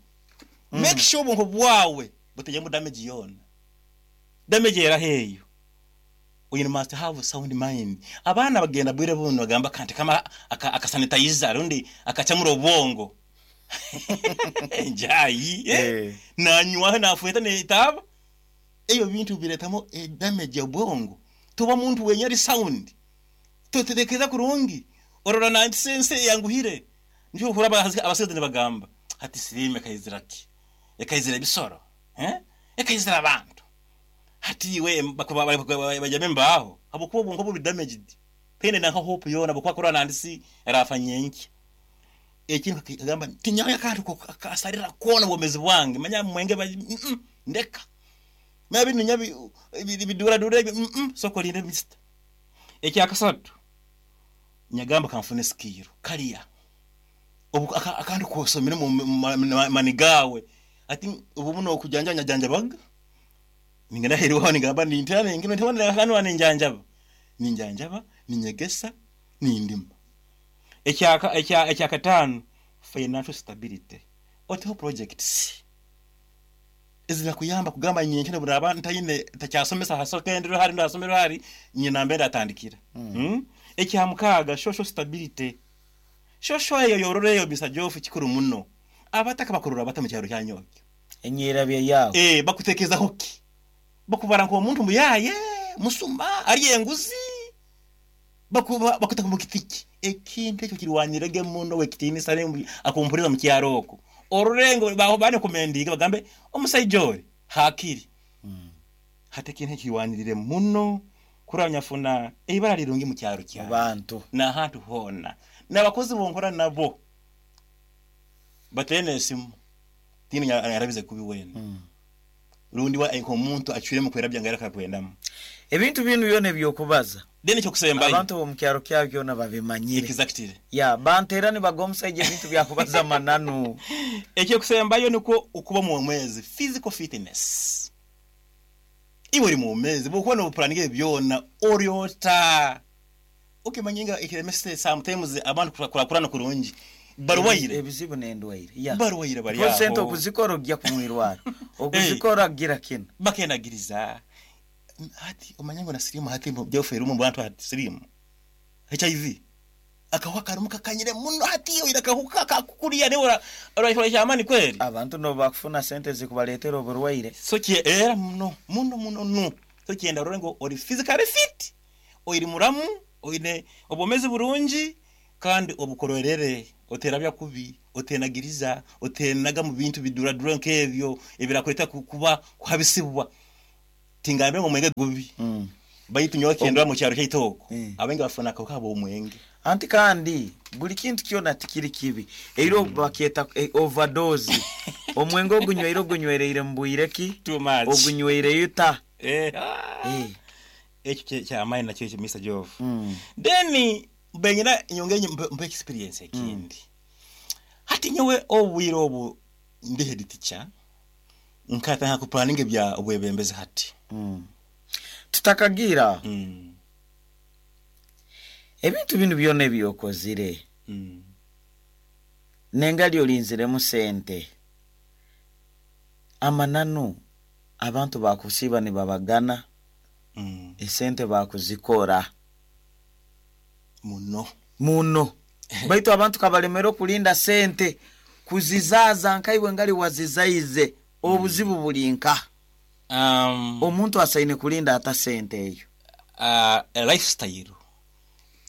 Mm. Make sure obwonko bwawe butajyamu damage yona, damage era heyo. You must have a sound mind. Abaana bagenda bwire buno bagamba kanti kama akasanitizer rundi akacamura obwongo njayi, eh? Eh. Nanywa nafueta netaba eyo bintu biretamo e damage ya bwongo. Tuba muntu wenye ari sound, tutekereza kurungi, orora na sense yanguhire. Ndio hura abasize bagamba hati sirime kayizira ki, ekayizira ebisoro, eh, ekayizira abantu hati we bajame mbaho abukuba obwongo buri damaged pene na hope yona bukwa kora nandisi rafa nyenki. Ekintu kagamba tinyawe akantu kasarira kona obwomezi bwange manya mwenge ba- mm, mm, ndeka mabi nyabi bidura dura mm, mm, soko linde mister. Ekyakasatu, nyagamba kanfune skill kaliya obu aka- akantu kosomere mu mu- ma- mani gawe ati ubu muno okujanjanya janjabaga ningenda heriwaho ningamba nintana ngino ntibona akantu ninjanjaba ninjanjaba ninyegesa nindima. Ekyaka ekya ekyakatano, financial stability. Oteho projects ezirakuyamba kugamba nyenkene buraba ntayine takyasomesa hasokendero hari ndasomero hari nyina mbere atandikira. Mm. mm? Ekyamukaaga, social stability. Social eyo yorore Mister Jofu kikuru muno. Abataka bakurura bata mu kyaro kyanyokyo? Enyerabya yawe. Eh, bakutekezaho ki? Bakubara nk'omuntu muyaye musumba ari enguzi, bakuba bakutaka mu kitiki. Ekintu ekyo kirwanirege muno wekitinisa akumpuriza mu kyaro oko orurengo baho bane kumendiga bagambe omusajja oli hakiri. Mm. Hati ekintu ekirwanirire muno kuranyafuna eibara lirungi mu kyaro Mu kyawe bantu. N'ahantu hoona n'abakozi bonkora nabo batene esimu tini yarabize kubi wena. Mm. Rundi wa omuntu acwire mu kwerabya nga yarakakwendamu. Ebintu binu byona ebyokubaza, Then ekyokusembayo, abantu bomu kyaro kyabo byona babimanyire. Exactly. Ya banteera nibaga omusajja ebintu byakubaza mananu. Ekyokusembayo niko okuba mu mwezi physical fitness. Iwe uri mu mezi bwokuba nobupuraninga byona oryota ukimanyinga ekiremese. Sometimes abantu kurakurana kurungi barwaire. Ebizibu n'endwaire ya Barwaire bari Kuko sente aho. okuzikora ojja kumwirwaro okuzikora gira kino. Bakenagiriza hati omanya ngo na sirimu hati byofera mu bantu hati sirimu H I V akahuka karumu kakanyire muno hati iyo irakahuka kakukuriya ne ora ora kyamani kweli. Abantu no bakufuna sente zikubaleetera oburwaire. So kye era muno muno muno no so kyenda rore ngo ori physically fit, ori muramu, oine obwomezi burungi kandi obukorerere. Oterabya kubi, otenagiriza, otenaga mu bintu biduradura nk'ebyo ebirakweta kuba kuhabisibwa. Tingambe ngo mwenge gubi. Mm. Baitu nyowe kendwa mu kyaro ky'itoko. Mm. Abenge bafuna akawuka abo omwenge. Anti kandi buli kintu kyona tikiri kibi. Eiro bakyeta eh, overdose. Omwenge ogunyweire ogunywereire mu bwire ki? Too much. Ogunyweire ta. Eh. Ah. Eh. Ekyo kyamaani nakyo ekyo, Mister Jove. Mm. Then benyina nyonge mpe mpe experience ekindi. Hati nyowe obwire obu ndi head teacher, nkatanga kuplanning bya obwebembezi hati. Mm. Tutakagira Mm. ebintu bino byonna ebyokozire Mm. nengali olinziremu sente, amananu abantu bakusiiba nibabagana Mm. esente bakuzikora Muno. muno, baitu abantu kabalemera okulinda sente kuzizaaza nkaiwe ngali wazizaize, obuzibu buli nka Um, omuntu asaine kulinda ata sente eyo? uh, lifestyle,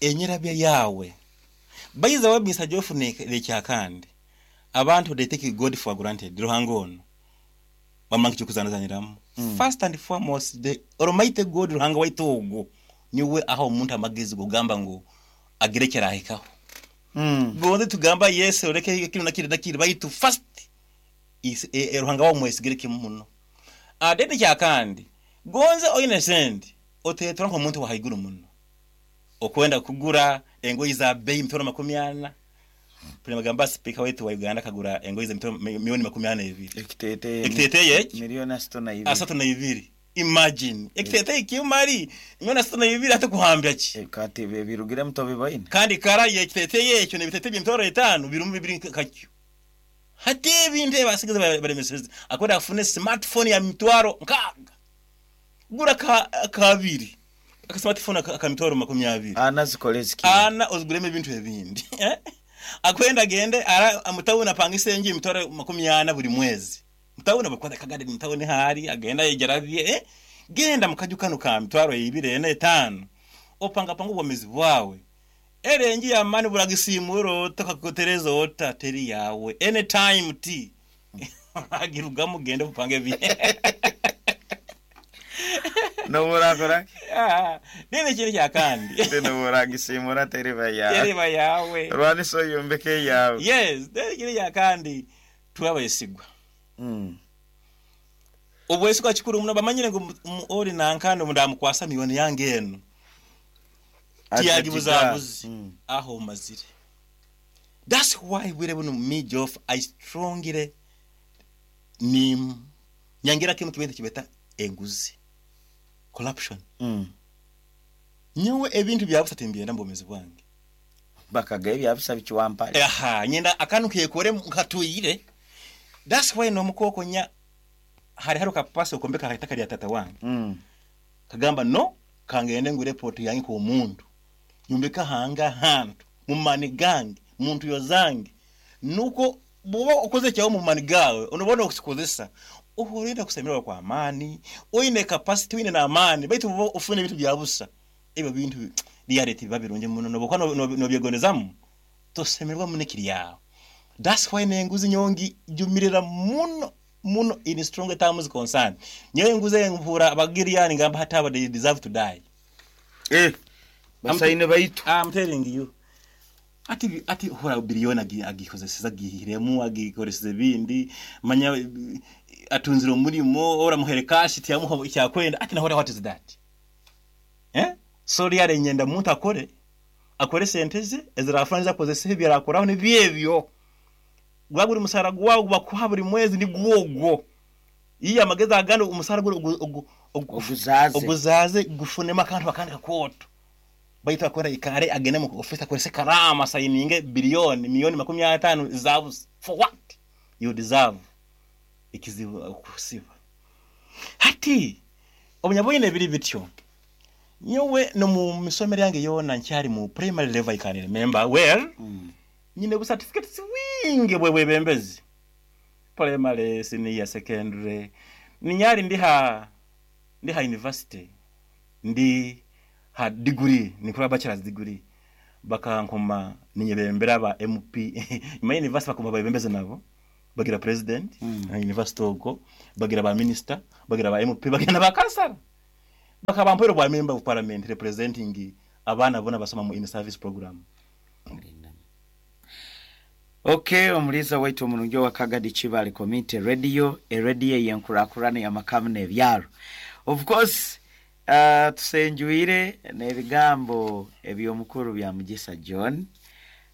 enyerabya yawe bayiza wa Mister Jofu nekyakandi abantu, they take God for granted. Ruhanga ono bamanga kyokuzanazaniramu mm. First and foremost, the almighty God, Ruhanga waitu ogwo, niwe aho omuntu amagezi gugamba ngu agire kyarahikaho. mm. Gonze tugamba Yesu, oreke kino nakiri nakiri, baitu first is e, e, Ruhanga wa mwesigire kimu muno. Adede kyakandi, gonze oine sente, otetora nk'omuntu wa haiguru muno, okwenda kugura engoyi za bei mitwaro makumi ana. Puli magamba speaker wetu wa Uganda kagura engoyi za mitwaro milioni makumi ana ebiri. Ekiteeteeyi. Ekiteeteeyi eki Milioni asatu na ibiri. Asatu na ibiri. Imagine, ekiteeteeyi kimari milioni asatu na ibiri, ate kuhambya ki? Eh, kati birugiremu tobibaine. Kandi kara ekiteeteeyi ekyo nebiteeteeyi by'emitwaro etaano birimu bibiri kakyo. Hati ebintu ebasigaze baremeseze, akwenda afune smartphone ya mitwaro nkaaga, gura ka kabiri aka smartphone aka aka mitwaro makumi abiri. Ana zikole ziki? Ana oziguremu ebintu ebindi. Eh? Akwenda agende ara mutawuni, apangise enju emitwaro makumi ana buri mwezi. Mutawuni bakwata kagade, mutawuni hari agenda yejarabye, eh? Genda mukaju kano ka mitwaro ibiri, ena, etaano, opanga panga obwomezi bwawe. Ere enju yamani buragisimura tokakutereza ota teri yawe, anytime t agirugamu, gende upange bi Noburakora. Ah, nini kintu kyakandi? Noburagisimura teriba yawe. Teriba yawe. Rwaniso yombeke yawe. Yes, then kintu kyakandi, twabayesigwa. Mm. Obwesigwa kikuru muno. Bamanyire ngu mu- ori nankandi ndamukwasa miliyoni yange eno, tiyagibuzabuzi. Mm. Aho mazire. That's why bwire buno me, Jof, I strongly ni nyangira kimu kibintu kibeta enguzi, corruption. Mm. Nyowe ebintu byabusa timbyenda mu bwomezi bwange. Bakaga ebyabusa bikiwampale. Aha, nyenda akantu kekore nkatuyire. That's why nomukoko nya hari hari kapasi okombeka itaka lya tata wange. Mm. Kagamba no kangende ngure plot yange ku muntu, nyumbeka hanga hantu mumani gange muntu yozange, nuko buba okoze kyawo mumani gawe, unobona okusikozesa uhorenda kusemererwa kwa amani, oine capacity, oine n'amaani, baitu buba ofune ebintu bya busa, ebyo bintu reality biba birungi muno, nobokuba nobyegondezamu tosemererwa muno ekiri yawe. That's why nenguzi nyongi jumirira muno muno in strong terms concern. Nyowe enguzi empura abagiriyani, ngamba hati aba they deserve to die. Eh, basaine baitu. I'm telling you, ati ati hora biliyoni agi- agikozeseza, agihiremu, agikoreseza ebindi, manya eh, atunzire omurimo, ora muhere cash tiyamuha icyakwenda, ati nahora, what is that, eh? So really nyenda muntu akore akore sente ze ezirafana, akozesa ebyo arakoraho nibyebyo. Gwa buri musara gwawe bakuha buri mwezi ni gwogwo. Iyo amagezi agandi umusara guri ugu- ugu- ugu- Oguzaze. Oguzaze, gufunemo akantu akandi kakwoto, baitu akora ikare agende mu office akorese karama sayininge biliyoni miliyoni makumi atano zabuze. For what? You deserve ikizibu kusiba. Hati obunyabwine biri bityo. Nyowe no mu misomero yange yona nkyari mu primary level, I can remember well, Mm. nyine bu certificates wingi bwe bwebembezi, primary, senior secondary, ninyari ndiha ndiha university, ndi ha degree, nikora bachelor's degree. Bakankoma ninyebembera ba M P nyuma ya university, bakoma bayebembeze nabo, bagira president Mm. mm. university ogwo, bagira ba minister, bagira ba M P, bagira na ba kansala, bakabampoera bwa member of parliament representing abaana bona basoma mu in service program. Okay, omuliza waitu omurungi wa Kagadi Kibale Community Radio, eradio yenkurakurana y'amakamu n'ebyaro. Of course, uh, tusenjuire n'ebigambo eby'omukuru bya Mugisa John,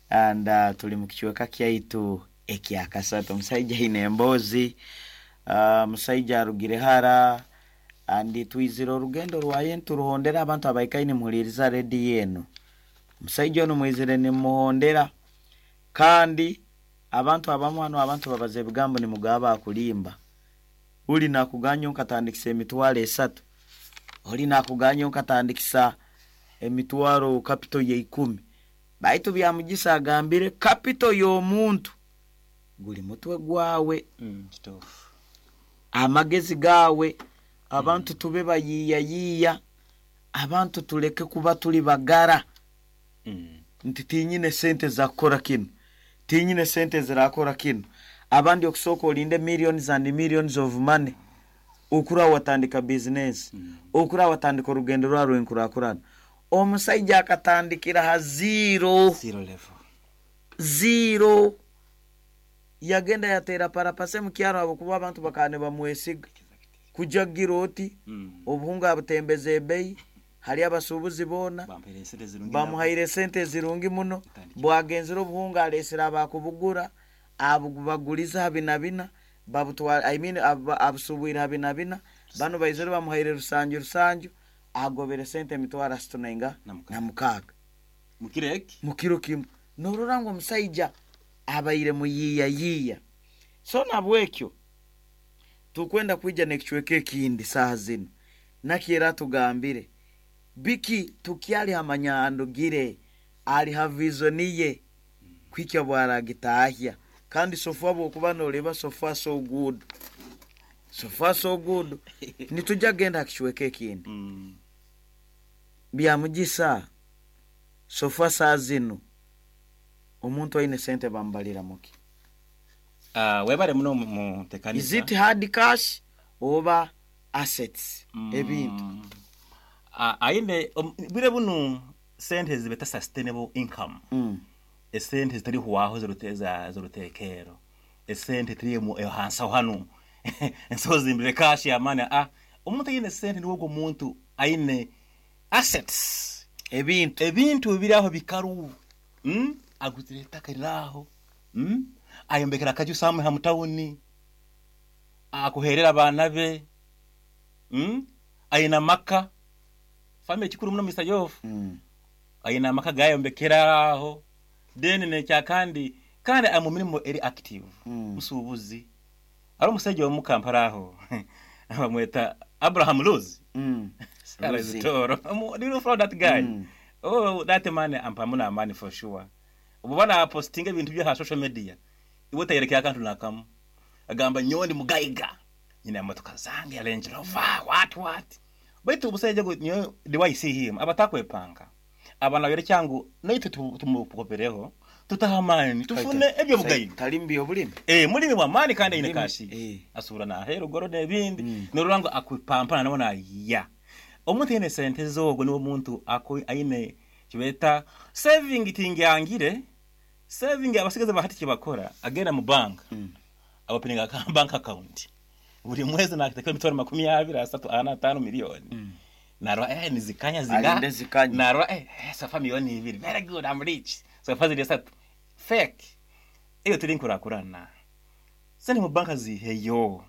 and uh, tuli mu kicweka kyaitu ekyakasatu. Omusaija aine emboozi, uh, musaija arugire hara, and twizire orugendo rwaye nturuhondera. Abantu abaikaine muhuliriza rediyo eno, omusaija ono mwizire nimuhondera. Kandi abantu abamu hano, abantu babaza ebigambo nimugaba akulimba. Uli nakuganya nkatandikisa emitwaro esatu, oli nakuganya nkatandikisa emitwaro capital ya ikumi, baitu Byamugisa agambire capital y'omuntu guli mutwe gwawe. mm, kituufu. Amagezi gawe. Abantu tube bayiiyayiiya, abantu tuleke kuba tuli bagara mm. nti tinyine sente za kukora kino, tinyine sente zirakora kino. Abandi okusooka olinde millions and millions of money okura watandika business, Mm. okura watandika orugendo rwa rwenkurakurana. Omusaija akatandikira ha zero. Zero level. Zero. Yagenda yateera parapase mukyaro habwokuba abantu bakaba nibamwesiga kujagira oti mm. obuhunga abutembeza ebeyi hali abasuubuzi boona. Bampaire esente zirungi. Bamuhaire sente zirungi muno. Tandikira. Bwagenzere obuhunga alesere abakubugura, abubaguliza ha bina bina, babutwara, I mean, abu- abusubwire ha bina bina, bano baizire bamuhaire rusanju rusanju, agobere sente emitwaro asatu nainga Na mukaaga. Na mukaaga. Mukiro eki. Mukiro kimu. Norora ngu omusaija abaire muyiiyayiiya. So nabwekyo tukwenda kwija nekicweka ekindi saaha zino, nakyera tugambire biki tukyali hamanyandugire ali ha vision ye kwikya bwaragitahya. Kandi so far bwokuba noreba, so far so good, so far so good. Nitujja genda hakicweka ekindi. mm. Byamugisa, so far saa zino omuntu aine sente bamubalira muki? Uh, webale muno mutekanisa. Is it hard cash oba assets, ebintu? Mm. Ah, aine um, bwire bunu sente zibeta sustainable income, mm. esente zitari huwaho ziruteza z'urutekero, esente tiri mu hansi aho hano ensozi zimbire cash yamani. Ah, omuntu aine sente niwo ogwo muntu aine assets. Ebintu. Ebintu biri aho bikaru, mm? Aguzire ettaka riraho, mm? Ayombekera akaju samwe ha mutawuni, akuherera abaana be, mm? Aine amaka, family kikuru muno, Mister Yofu. mm. Aine amaka gayombekera aho, then nekya kandi kandi ari mu mirimo eri active. Mm. Musuubuzi ari omusajja omu Kampala aho bamweta Abraham Luz. Mm. Luzi. Toro. Do you follow that guy? Mm. Oh, that man ampamu na money for sure. Ubu bana postinga ebintu bya social media, iwe tayerekera akantu nakamu, agamba nyowe ndi mugaiga, nyina emotoka zange ya Range Rover, what what. Baitu omusajja gwe nyowe, the way I see him, abatakwepanga abana bere cyangu naitwe tumukopereho tutahamani tufune ebyo bugaiga. Tali mbi obulimi. Eh, mulimi wa mani kandi aine Mulimi, kashi. eh. Asubura nahera ugoro n'ebindi. Mm. Norora ngo akwipampana nabona ya omuntu aine sente zogo niwo muntu ako aine kibeta saving tingangire saving. Abasigaze bahati kibakora agenda mu bank, Mm. abapininga ka bank account buri mwezi nakiteka emitwaro makumi abiri, asatu, ana, atano miliyoni. Mm. Narwa eh nizikanya zinga. Alinde zikanya. Narwa eh, eh so far miliyoni ibiri, very good, I'm rich. So far ziri esatu fake. Iyo turi nkurakurana sente mu banka ziheyo,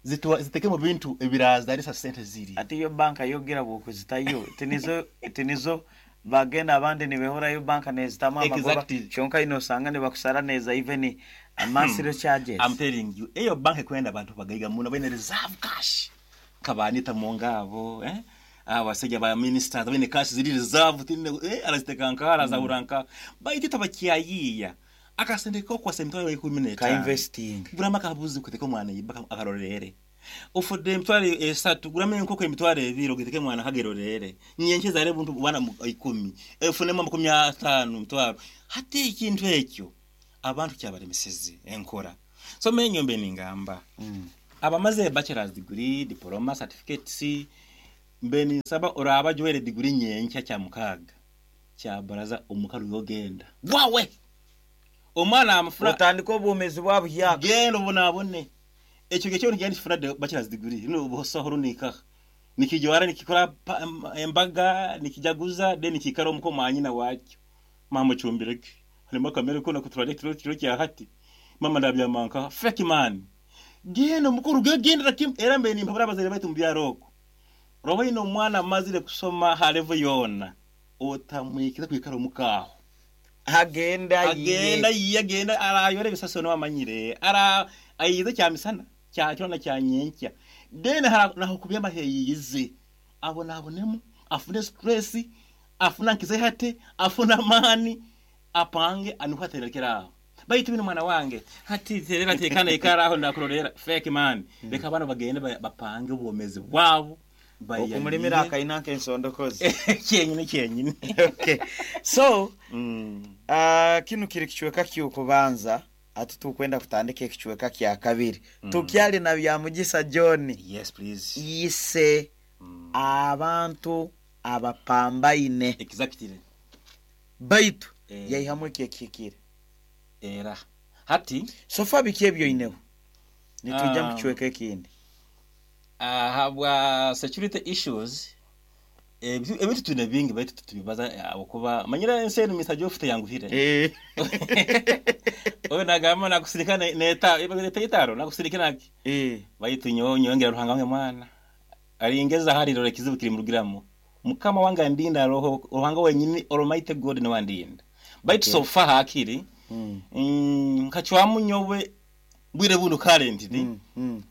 zituwa ziteke mu bintu ebiraza ari sa sente ziri. Ate iyo banka yogira bwokuzitayo tinizo tinizo bagenda abandi nibehorayo banka nezitamu amagoba. Exactly. Kyonka ino osanga nibakusara neza even monthly charges. I'm telling you, eyo banka kwenda abantu bagaiga muno bene reserve cash kabanita mu ngabo, eh abasajja ba ministers bene cash ziri reserve tine, eh araziteka nka arazahura baiti tabakyayiya akasente ko kwa semitwaro ikumi Ka n'etano investing. Burama kabuzi kuteka omwana yiba akarorere. Ufudde emitwaro esatu guramu enkoko emitwaro ebiri ogiteke mwana kagerorere nyenche zare buntu bwana ikumi efunemo makumi atano mitwaro. Hati ekintu ekyo abantu kyabalemeseze enkora. So menyombe ningamba Mm. abamaze bachelor's degree, diploma, certificates, mbe ninsaba oraba jwere degree nyenkya kya mukaga kya baraza omukaru yogenda wawe omwana amafuna Otandika obwomezi bwa buhyaka. Genda obonabone ekyo gekyo nigenda kifuna de bachelor's degree no busoho runika nikijwara nikikora pa- em- embaga nikijaguza de nikikara omuko mwanyina wakyo mama chumbireke harimo kamere ko nakuturare kiro kiro kya hati mama ndabyamanka fake man genda mukuru genda rakim era mbe nimpabura abazere baitu mu byaroko roho ino omwana amazire kusoma ha level yona otamwikira kwikara omukaho. Agenda agenda yiye agenda arayora ebisaso no amanyire ara ayize kya misana kya kyona kya nyenkya then hara naho kubya maheyize abona abonemo afune stress afuna nkize hate afuna mani apange anuhaterekera baitu bino mwana wange hati terera tekana ikara aho ndakurorera fake man. Reka abana bagende ba- bapange obwomezi bwabo. Okumulimira akaina nk'ensondokozi. Kyenyine kyenyine. Okay, so Mm. uh, kinu kiri kicweka ky'okubanza, ati tukwenda kutandika ekicweka kya kabiri. Tukyali na Bya Mugisa John. Yes, please. Ise Mm. abantu abapambaine. Exactly. Baitu Eh. yaihamu ekyekihikire. Era hati sofa biki ebyoineho nitujja Ah. mu kicweka ekindi? Ahabwa security issues, ebintu ebintu twine bingi baitu tutubibaza okuba manyira ensi enu misajo ofite yanguhire. Eh. Oyo nagamba nakusirika ne- neta neta itaro nakusirika naki. Eh. Baitu nyowe nyongera Ruhanga wange mwana aringeza hari rore kizibu kiri murugiramo Mukama wange andinda roho Ruhanga wenyini Almighty God ni wandinda baitu Okay. so far hakiri Mm. mm, nkacwamu nyowe bwire buno currently Mm. Mm.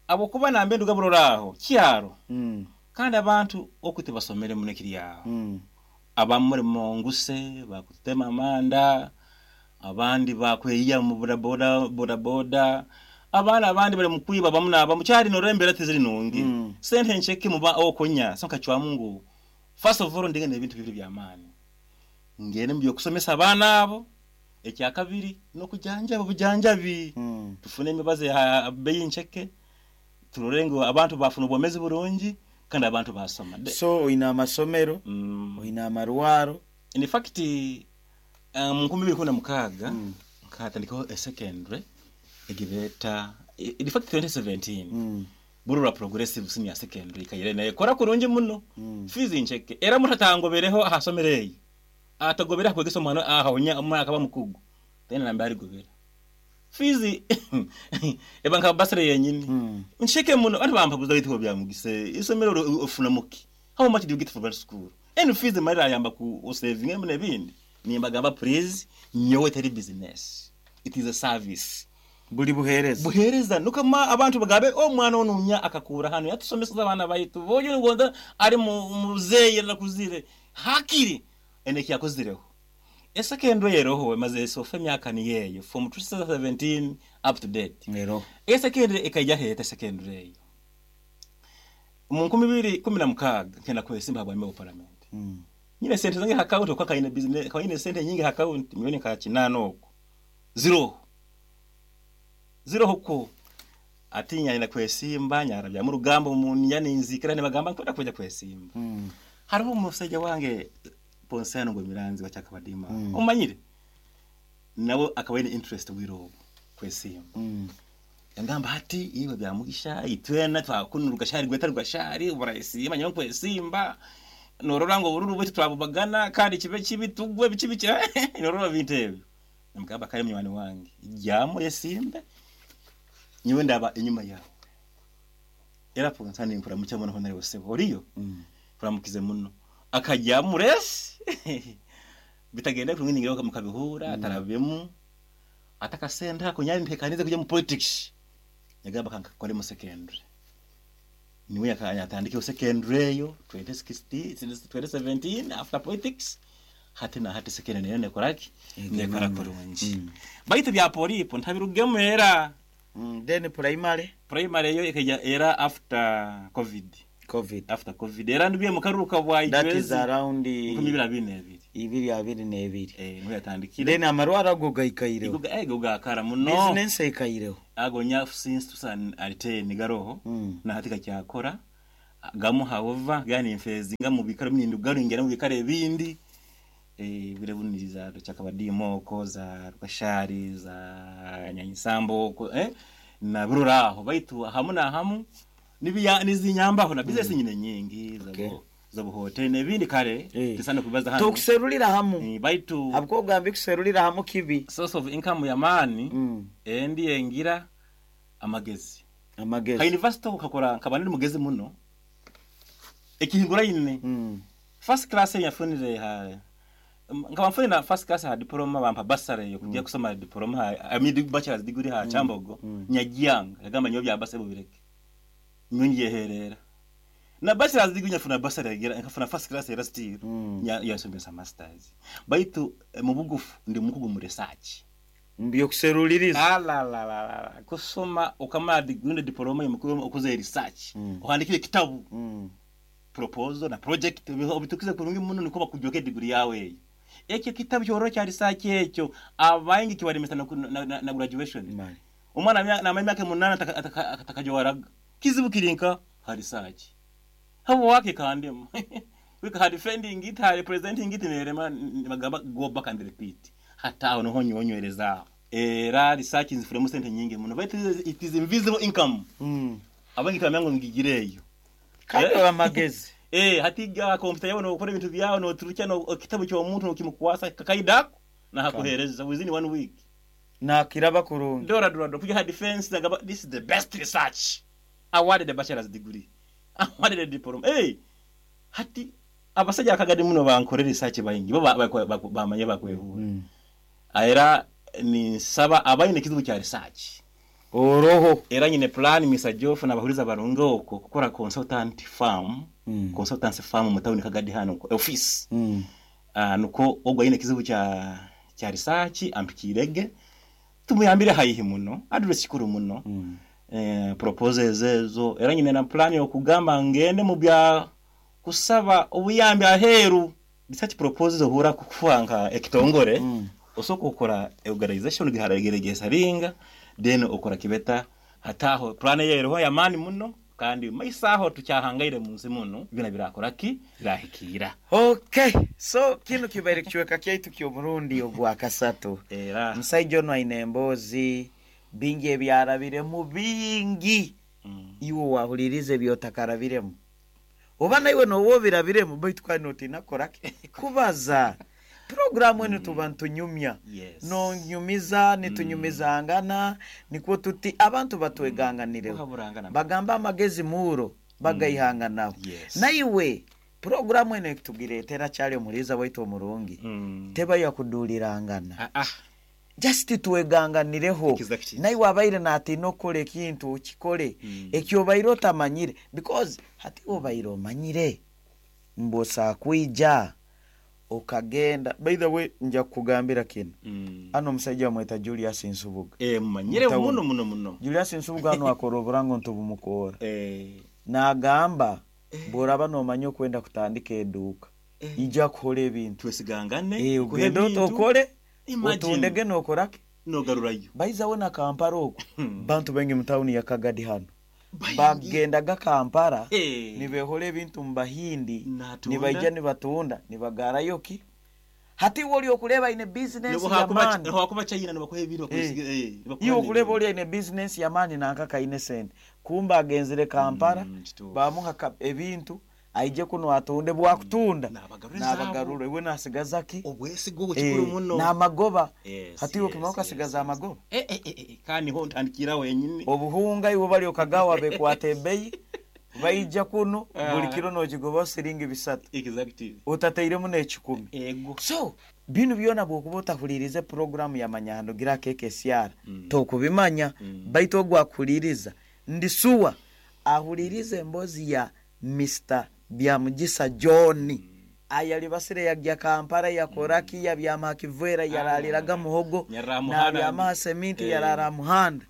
abo kuba nambe nduga buroraho kyaro Mm. kandi abantu okuti basomere muno kiri aho. Mm. Abamuri monguse bakutema amanda, abandi bakweyiya mu bodaboda bodaboda, abana abandi bari mu kwiba bamu naba mucyari norembera tiziri nungi. Mm. Sente ncheke muba okonya so nkacwamu ngu first of all ndigende ebintu bibiri by'amaani ngende mu byokusomesa abaana abo, ekya kabiri n'okujanjaba obujanjabi. Mm. Tufune emibazi ya beyi ncheke turore ngu abantu bafuna obwomezi burungi kandi abantu basoma. De- So oine amasomero, Mm. oine amarwaro. In fact, um, nkumi bibiri kumi na mukaaga Mm. nkatandikaho esecondary egibeta, in fact twenty seventeen, Mm. Burura Progressive Senior Secondary kayire naye kora kurungi muno. Mm. Fees ncheke era mutatangobereho ahasomero eyo atagobera kwegesa omwana ahaonya omwana akaba mukugu tena nambe arigobera fees eba nka basere yenyini. Mm. Ncheke muno abantu bampabuza bitiko bya Mugise isomero ro- ofuna muki, how much do you get for that school and fees marira ayamba ku saving emune ebindi. Nimbagamba, please, nyowe teri business, it is a service. Buli buhereza. Buhereza nukama abantu bagabe omwana onunya akakura hano yatusomesa abana baitu boyo ngonda ari mu muzeyi nakuzire hakiri eneki yakozireho esekendwe yeroho maze sofa emyaka ni yeyo from twenty seventeen up to date. Ero. Esekendwe ekajya heta secondary eyo mu nkumi bibiri kumi na mukaaga nkenda kwesimba habwa member of parliament. Mm. Nyine sente zange account kwa kaine business kaine sente nyingi account milioni ka kinana oko zero zero huko atinya ina kwesimba nyarabya mu rugambo mu nyane nzikira ne bagamba nkwenda kujya kwesimba. Mm. Hariho umusajja wange Ponsano ngo Miranzi wa Cyakabadima, Mm. umanyire nawe akaba yine interest wirobo kwesimba. Mm. Yangamba hati iwe Bya Mugisha itwena twakunura ugashari gweta rugashari burayisima nyawe kwesimba norora ngo bururu bwe twabubagana kandi kibe kibi tugwe bikibi norora bintu ebyo. Namugamba kare munywani wange jyamo yesimbe nyewe ndaba inyuma yawe. Era Ponsano nkura mucyo muno honore bose oriyo. Mm. Kuramukize muno akajya muresi bitagenda kumwingira mukabihura atarabemu atakasenda kunyari ntekanize kujya mu politics. Yagamba kankakore mu secondary niwe yakatandike secondary yo twenty sixteen, twenty seventeen after politics hati na hati secondary nayo nekoraki nekora kurungi. Mm. Baitu bya polipo ntabirugemu era. Mm, then primary? Primary eyo ekaija era after COVID. COVID. After COVID era ndibye mukaruka bwa That is around nkumi ibiri abiri n'ebiri. Ibiri abiri n'ebiri. Eh, niho yatandikire. Then amarwara ago gaikaireho? Ego gakara muno. Business ekaireho? Ago nya since twenty ten garoho. Mm. Na hati kakyakora gamu, however gani nfezinga mu bikaro mindu garingera mu bikaro ebindi, eh bire buniriza cyakabadimo za Rukashari, za Nyanyisambo ko eh na bururaho, baitu hamu na hamu nibiya nizinyambaho na business nyine nyingi za Okay. za buhote n'ebindi kare. Eh. Tisana kubaza hano. Tokuserulira hamu. Eh, baitu Habwo ogambye kuserulira hamu kibi. Source of income ya mani Mm. endi engira amagezi. Ka Amagezi. university ukakora nkaba ndi mugezi muno ekihingura ine. Mm. First class yafunire ha nkaba mfunire na first class ha diploma, bampa bursary yo kujya kusoma diploma ha, I mean bachelor's degree ha Kyambogo. Mm. Nyagyanga yagamba nyo bya bursary bubireke, nyongiye herera na bachelor's degree, nyafuna bursary yagira nkafuna first class era still. Mm. Nya yasomesa masters, baitu eh, mu bugufu ndi mukugu mu research. Mbyokuseruliriza. Alalalala, kusoma ukamara degree, diploma yomukuru, ukoze research, Mm. uhandikire kitabu, Mm. proposal na project obitukize kurungi muno, niko bakujoke degree yawe eyo. Ekyo kitabu kyoro kya research ekyo abaingi kibalemesa na, na, na, na graduation. Mali. Omwana amya- namara emyaka munana atakajwaraga kizibu kirinka ha research habo wake kandemu wika ha defending it, ha representing it, nerema bagamba go back and repeat. Hata aho niho nyonywereza era research nzifuremu sente nyingi muno, but it is, it is invisible income. Mm. Abangi tibamenya ngo ngigireyo. Kandi Eh. amagezi. Eh, hatiga kompyuta yawe nokora ebintu byawe noturukya no ekitabu ky'omuntu nokimukwasa kakaidako na hakuhereza within one week. Nakiraba kurungi. Dora dora dora kuja defense nagaba this is the best research, awarded a bachelor's degree, awarded a diploma. Hey, hati abasajja akagadi muno bankore research bayingi bo bamanye bakwehura. Mm. Era ninsaba abayine ekizibu kya research Oroho. Era nyine plan, Mister Joff, nabahuriza barunge okwo kukora consultant firm. Mm. Consultancy firm mu town Kagadi hano office. Mm. uh, nuko ogwo ayine ekizibu kya kya research ampikirege tumuyambire haihi muno, address kikuru muno. Mm. eh, proposals ezo era nyine na plan yokugamba ngende mu bya kusaba obuyambi aheru. Research proposals ohura kufuanka ekitongore. Mm. Osoka okora organization giharageregesa then okora kibeta hataho plan yeroho yamani muno, kandi maisaho tukyahangaire munsi muno bina birakora ki birahikira. Okay, so kino kibaire kichweka kyaitu ky'omurundi ogwa kasatu. Era Musaija ono aine emboozi bingi ebyarabiremu bingi. mm. Iwe wahuliriza ebyotakarabiremu oba naiwe noba obirabiremu, baitu kandi notiina kukoraki kubaza. Puroguramu enu tuba ntunyumya. Yes. Nonyumiza nitunyumizangana, nikwo tuti abantu batweganganireho. Kuhaburangana. Bagamba amagezi muuro bagayihanganaho. Yes. Naiwe puroguramu eno ekutugireetera kyali omuliiza waitu omurungi, Mm. teba yakudulirangana. Ah, ah. Just tweganganireho. Exactly. Naiwe abaire natiina okukora ekintu okikole. Mm. Ekyo obaire otamanyire, because hati obaire omanyire mbosa kwija okagenda. By the way, nja kukugambira kino. Mm. Ano omusajja bamweta Julius Nsubuga. Eh, mumanyire. Mutawuni. Muno muno muno. Julius Nsubuga ano akora oburango ntubumukoora. Eh, Nagamba bw'oraba nomanya okwenda kutandika eduuka, ija kuhola ebintu. Twesigangane. Eh, nkuhe ogende ebintu, otokole. Imagine. Otundege nokoraki. Nogarurayo. Baizawe na Kampala okwo, Hmm. bantu baingi mu tawuni ya Kagadi hano Baingi. bagendaga Kampala Eh. nibehola ebintu mu Bahindi. Natunda. Nibaija nibatunda nibagarayo ki. Hati iwe oli okuleba aine bizinesi yamaani. Hakuba China nibakuha ebintu bakusiga, eh, nibakuha Iwe okuleba n'ebintu. oli aine bizinesi yamaani nanka kaine sente, kumba agenzere Kampala. Mm, kituufu. Bamuha ka- ebintu aije kuno atunde, bwakutunda N'abagarura ezaabo. n'abagarura, iwe nasigaza ki? Obwesigo Eh, kikuru muno. N'amagoba. Yes, Hati iwe yes, okimara yes, ukasigaza yes. amagoba. Eh, eh, eh, eh, kandi ho ntandikira wenyini. Obuhunga iwe bali okagawa bekwata ebeyi, baija kuno Ah. buli kiro nokigoba siringi bisatu, Exactly. otateiremu n'ekikumi. Ego. So binu byona bwokuba otahulirize puroguramu ya Manyahano gira kekesyara, Mm. tokubimanya. Mm. Baitu ogwakuhuliriza ndisuwa ahulirize embozi ya Mister Byamugisa John ayalibasire yagya Kampala yakoraki, yabyama hakivera, yaraliraga muhogo. Yarara muhanda. Nabyama ha seminti. Eh. Yarara muhanda.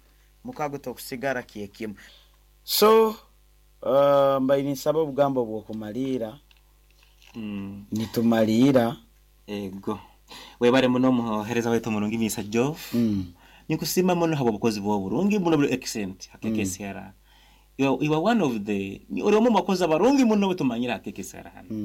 Mukago tokusigara kyekimu. So uh, mbaire ninsaba obugambo bw'okumaliira. Mm. Nitumaliira. Ego, webale muno, omuhereza waitu omurungi Mister Jof. mm. Nikusiima muno habw'obukozi bwawe burungi muno, buri excellent ha K K C R. You are, you are one of the, ori omu bakozi abarungi muno betumanyire ha K K C R hano.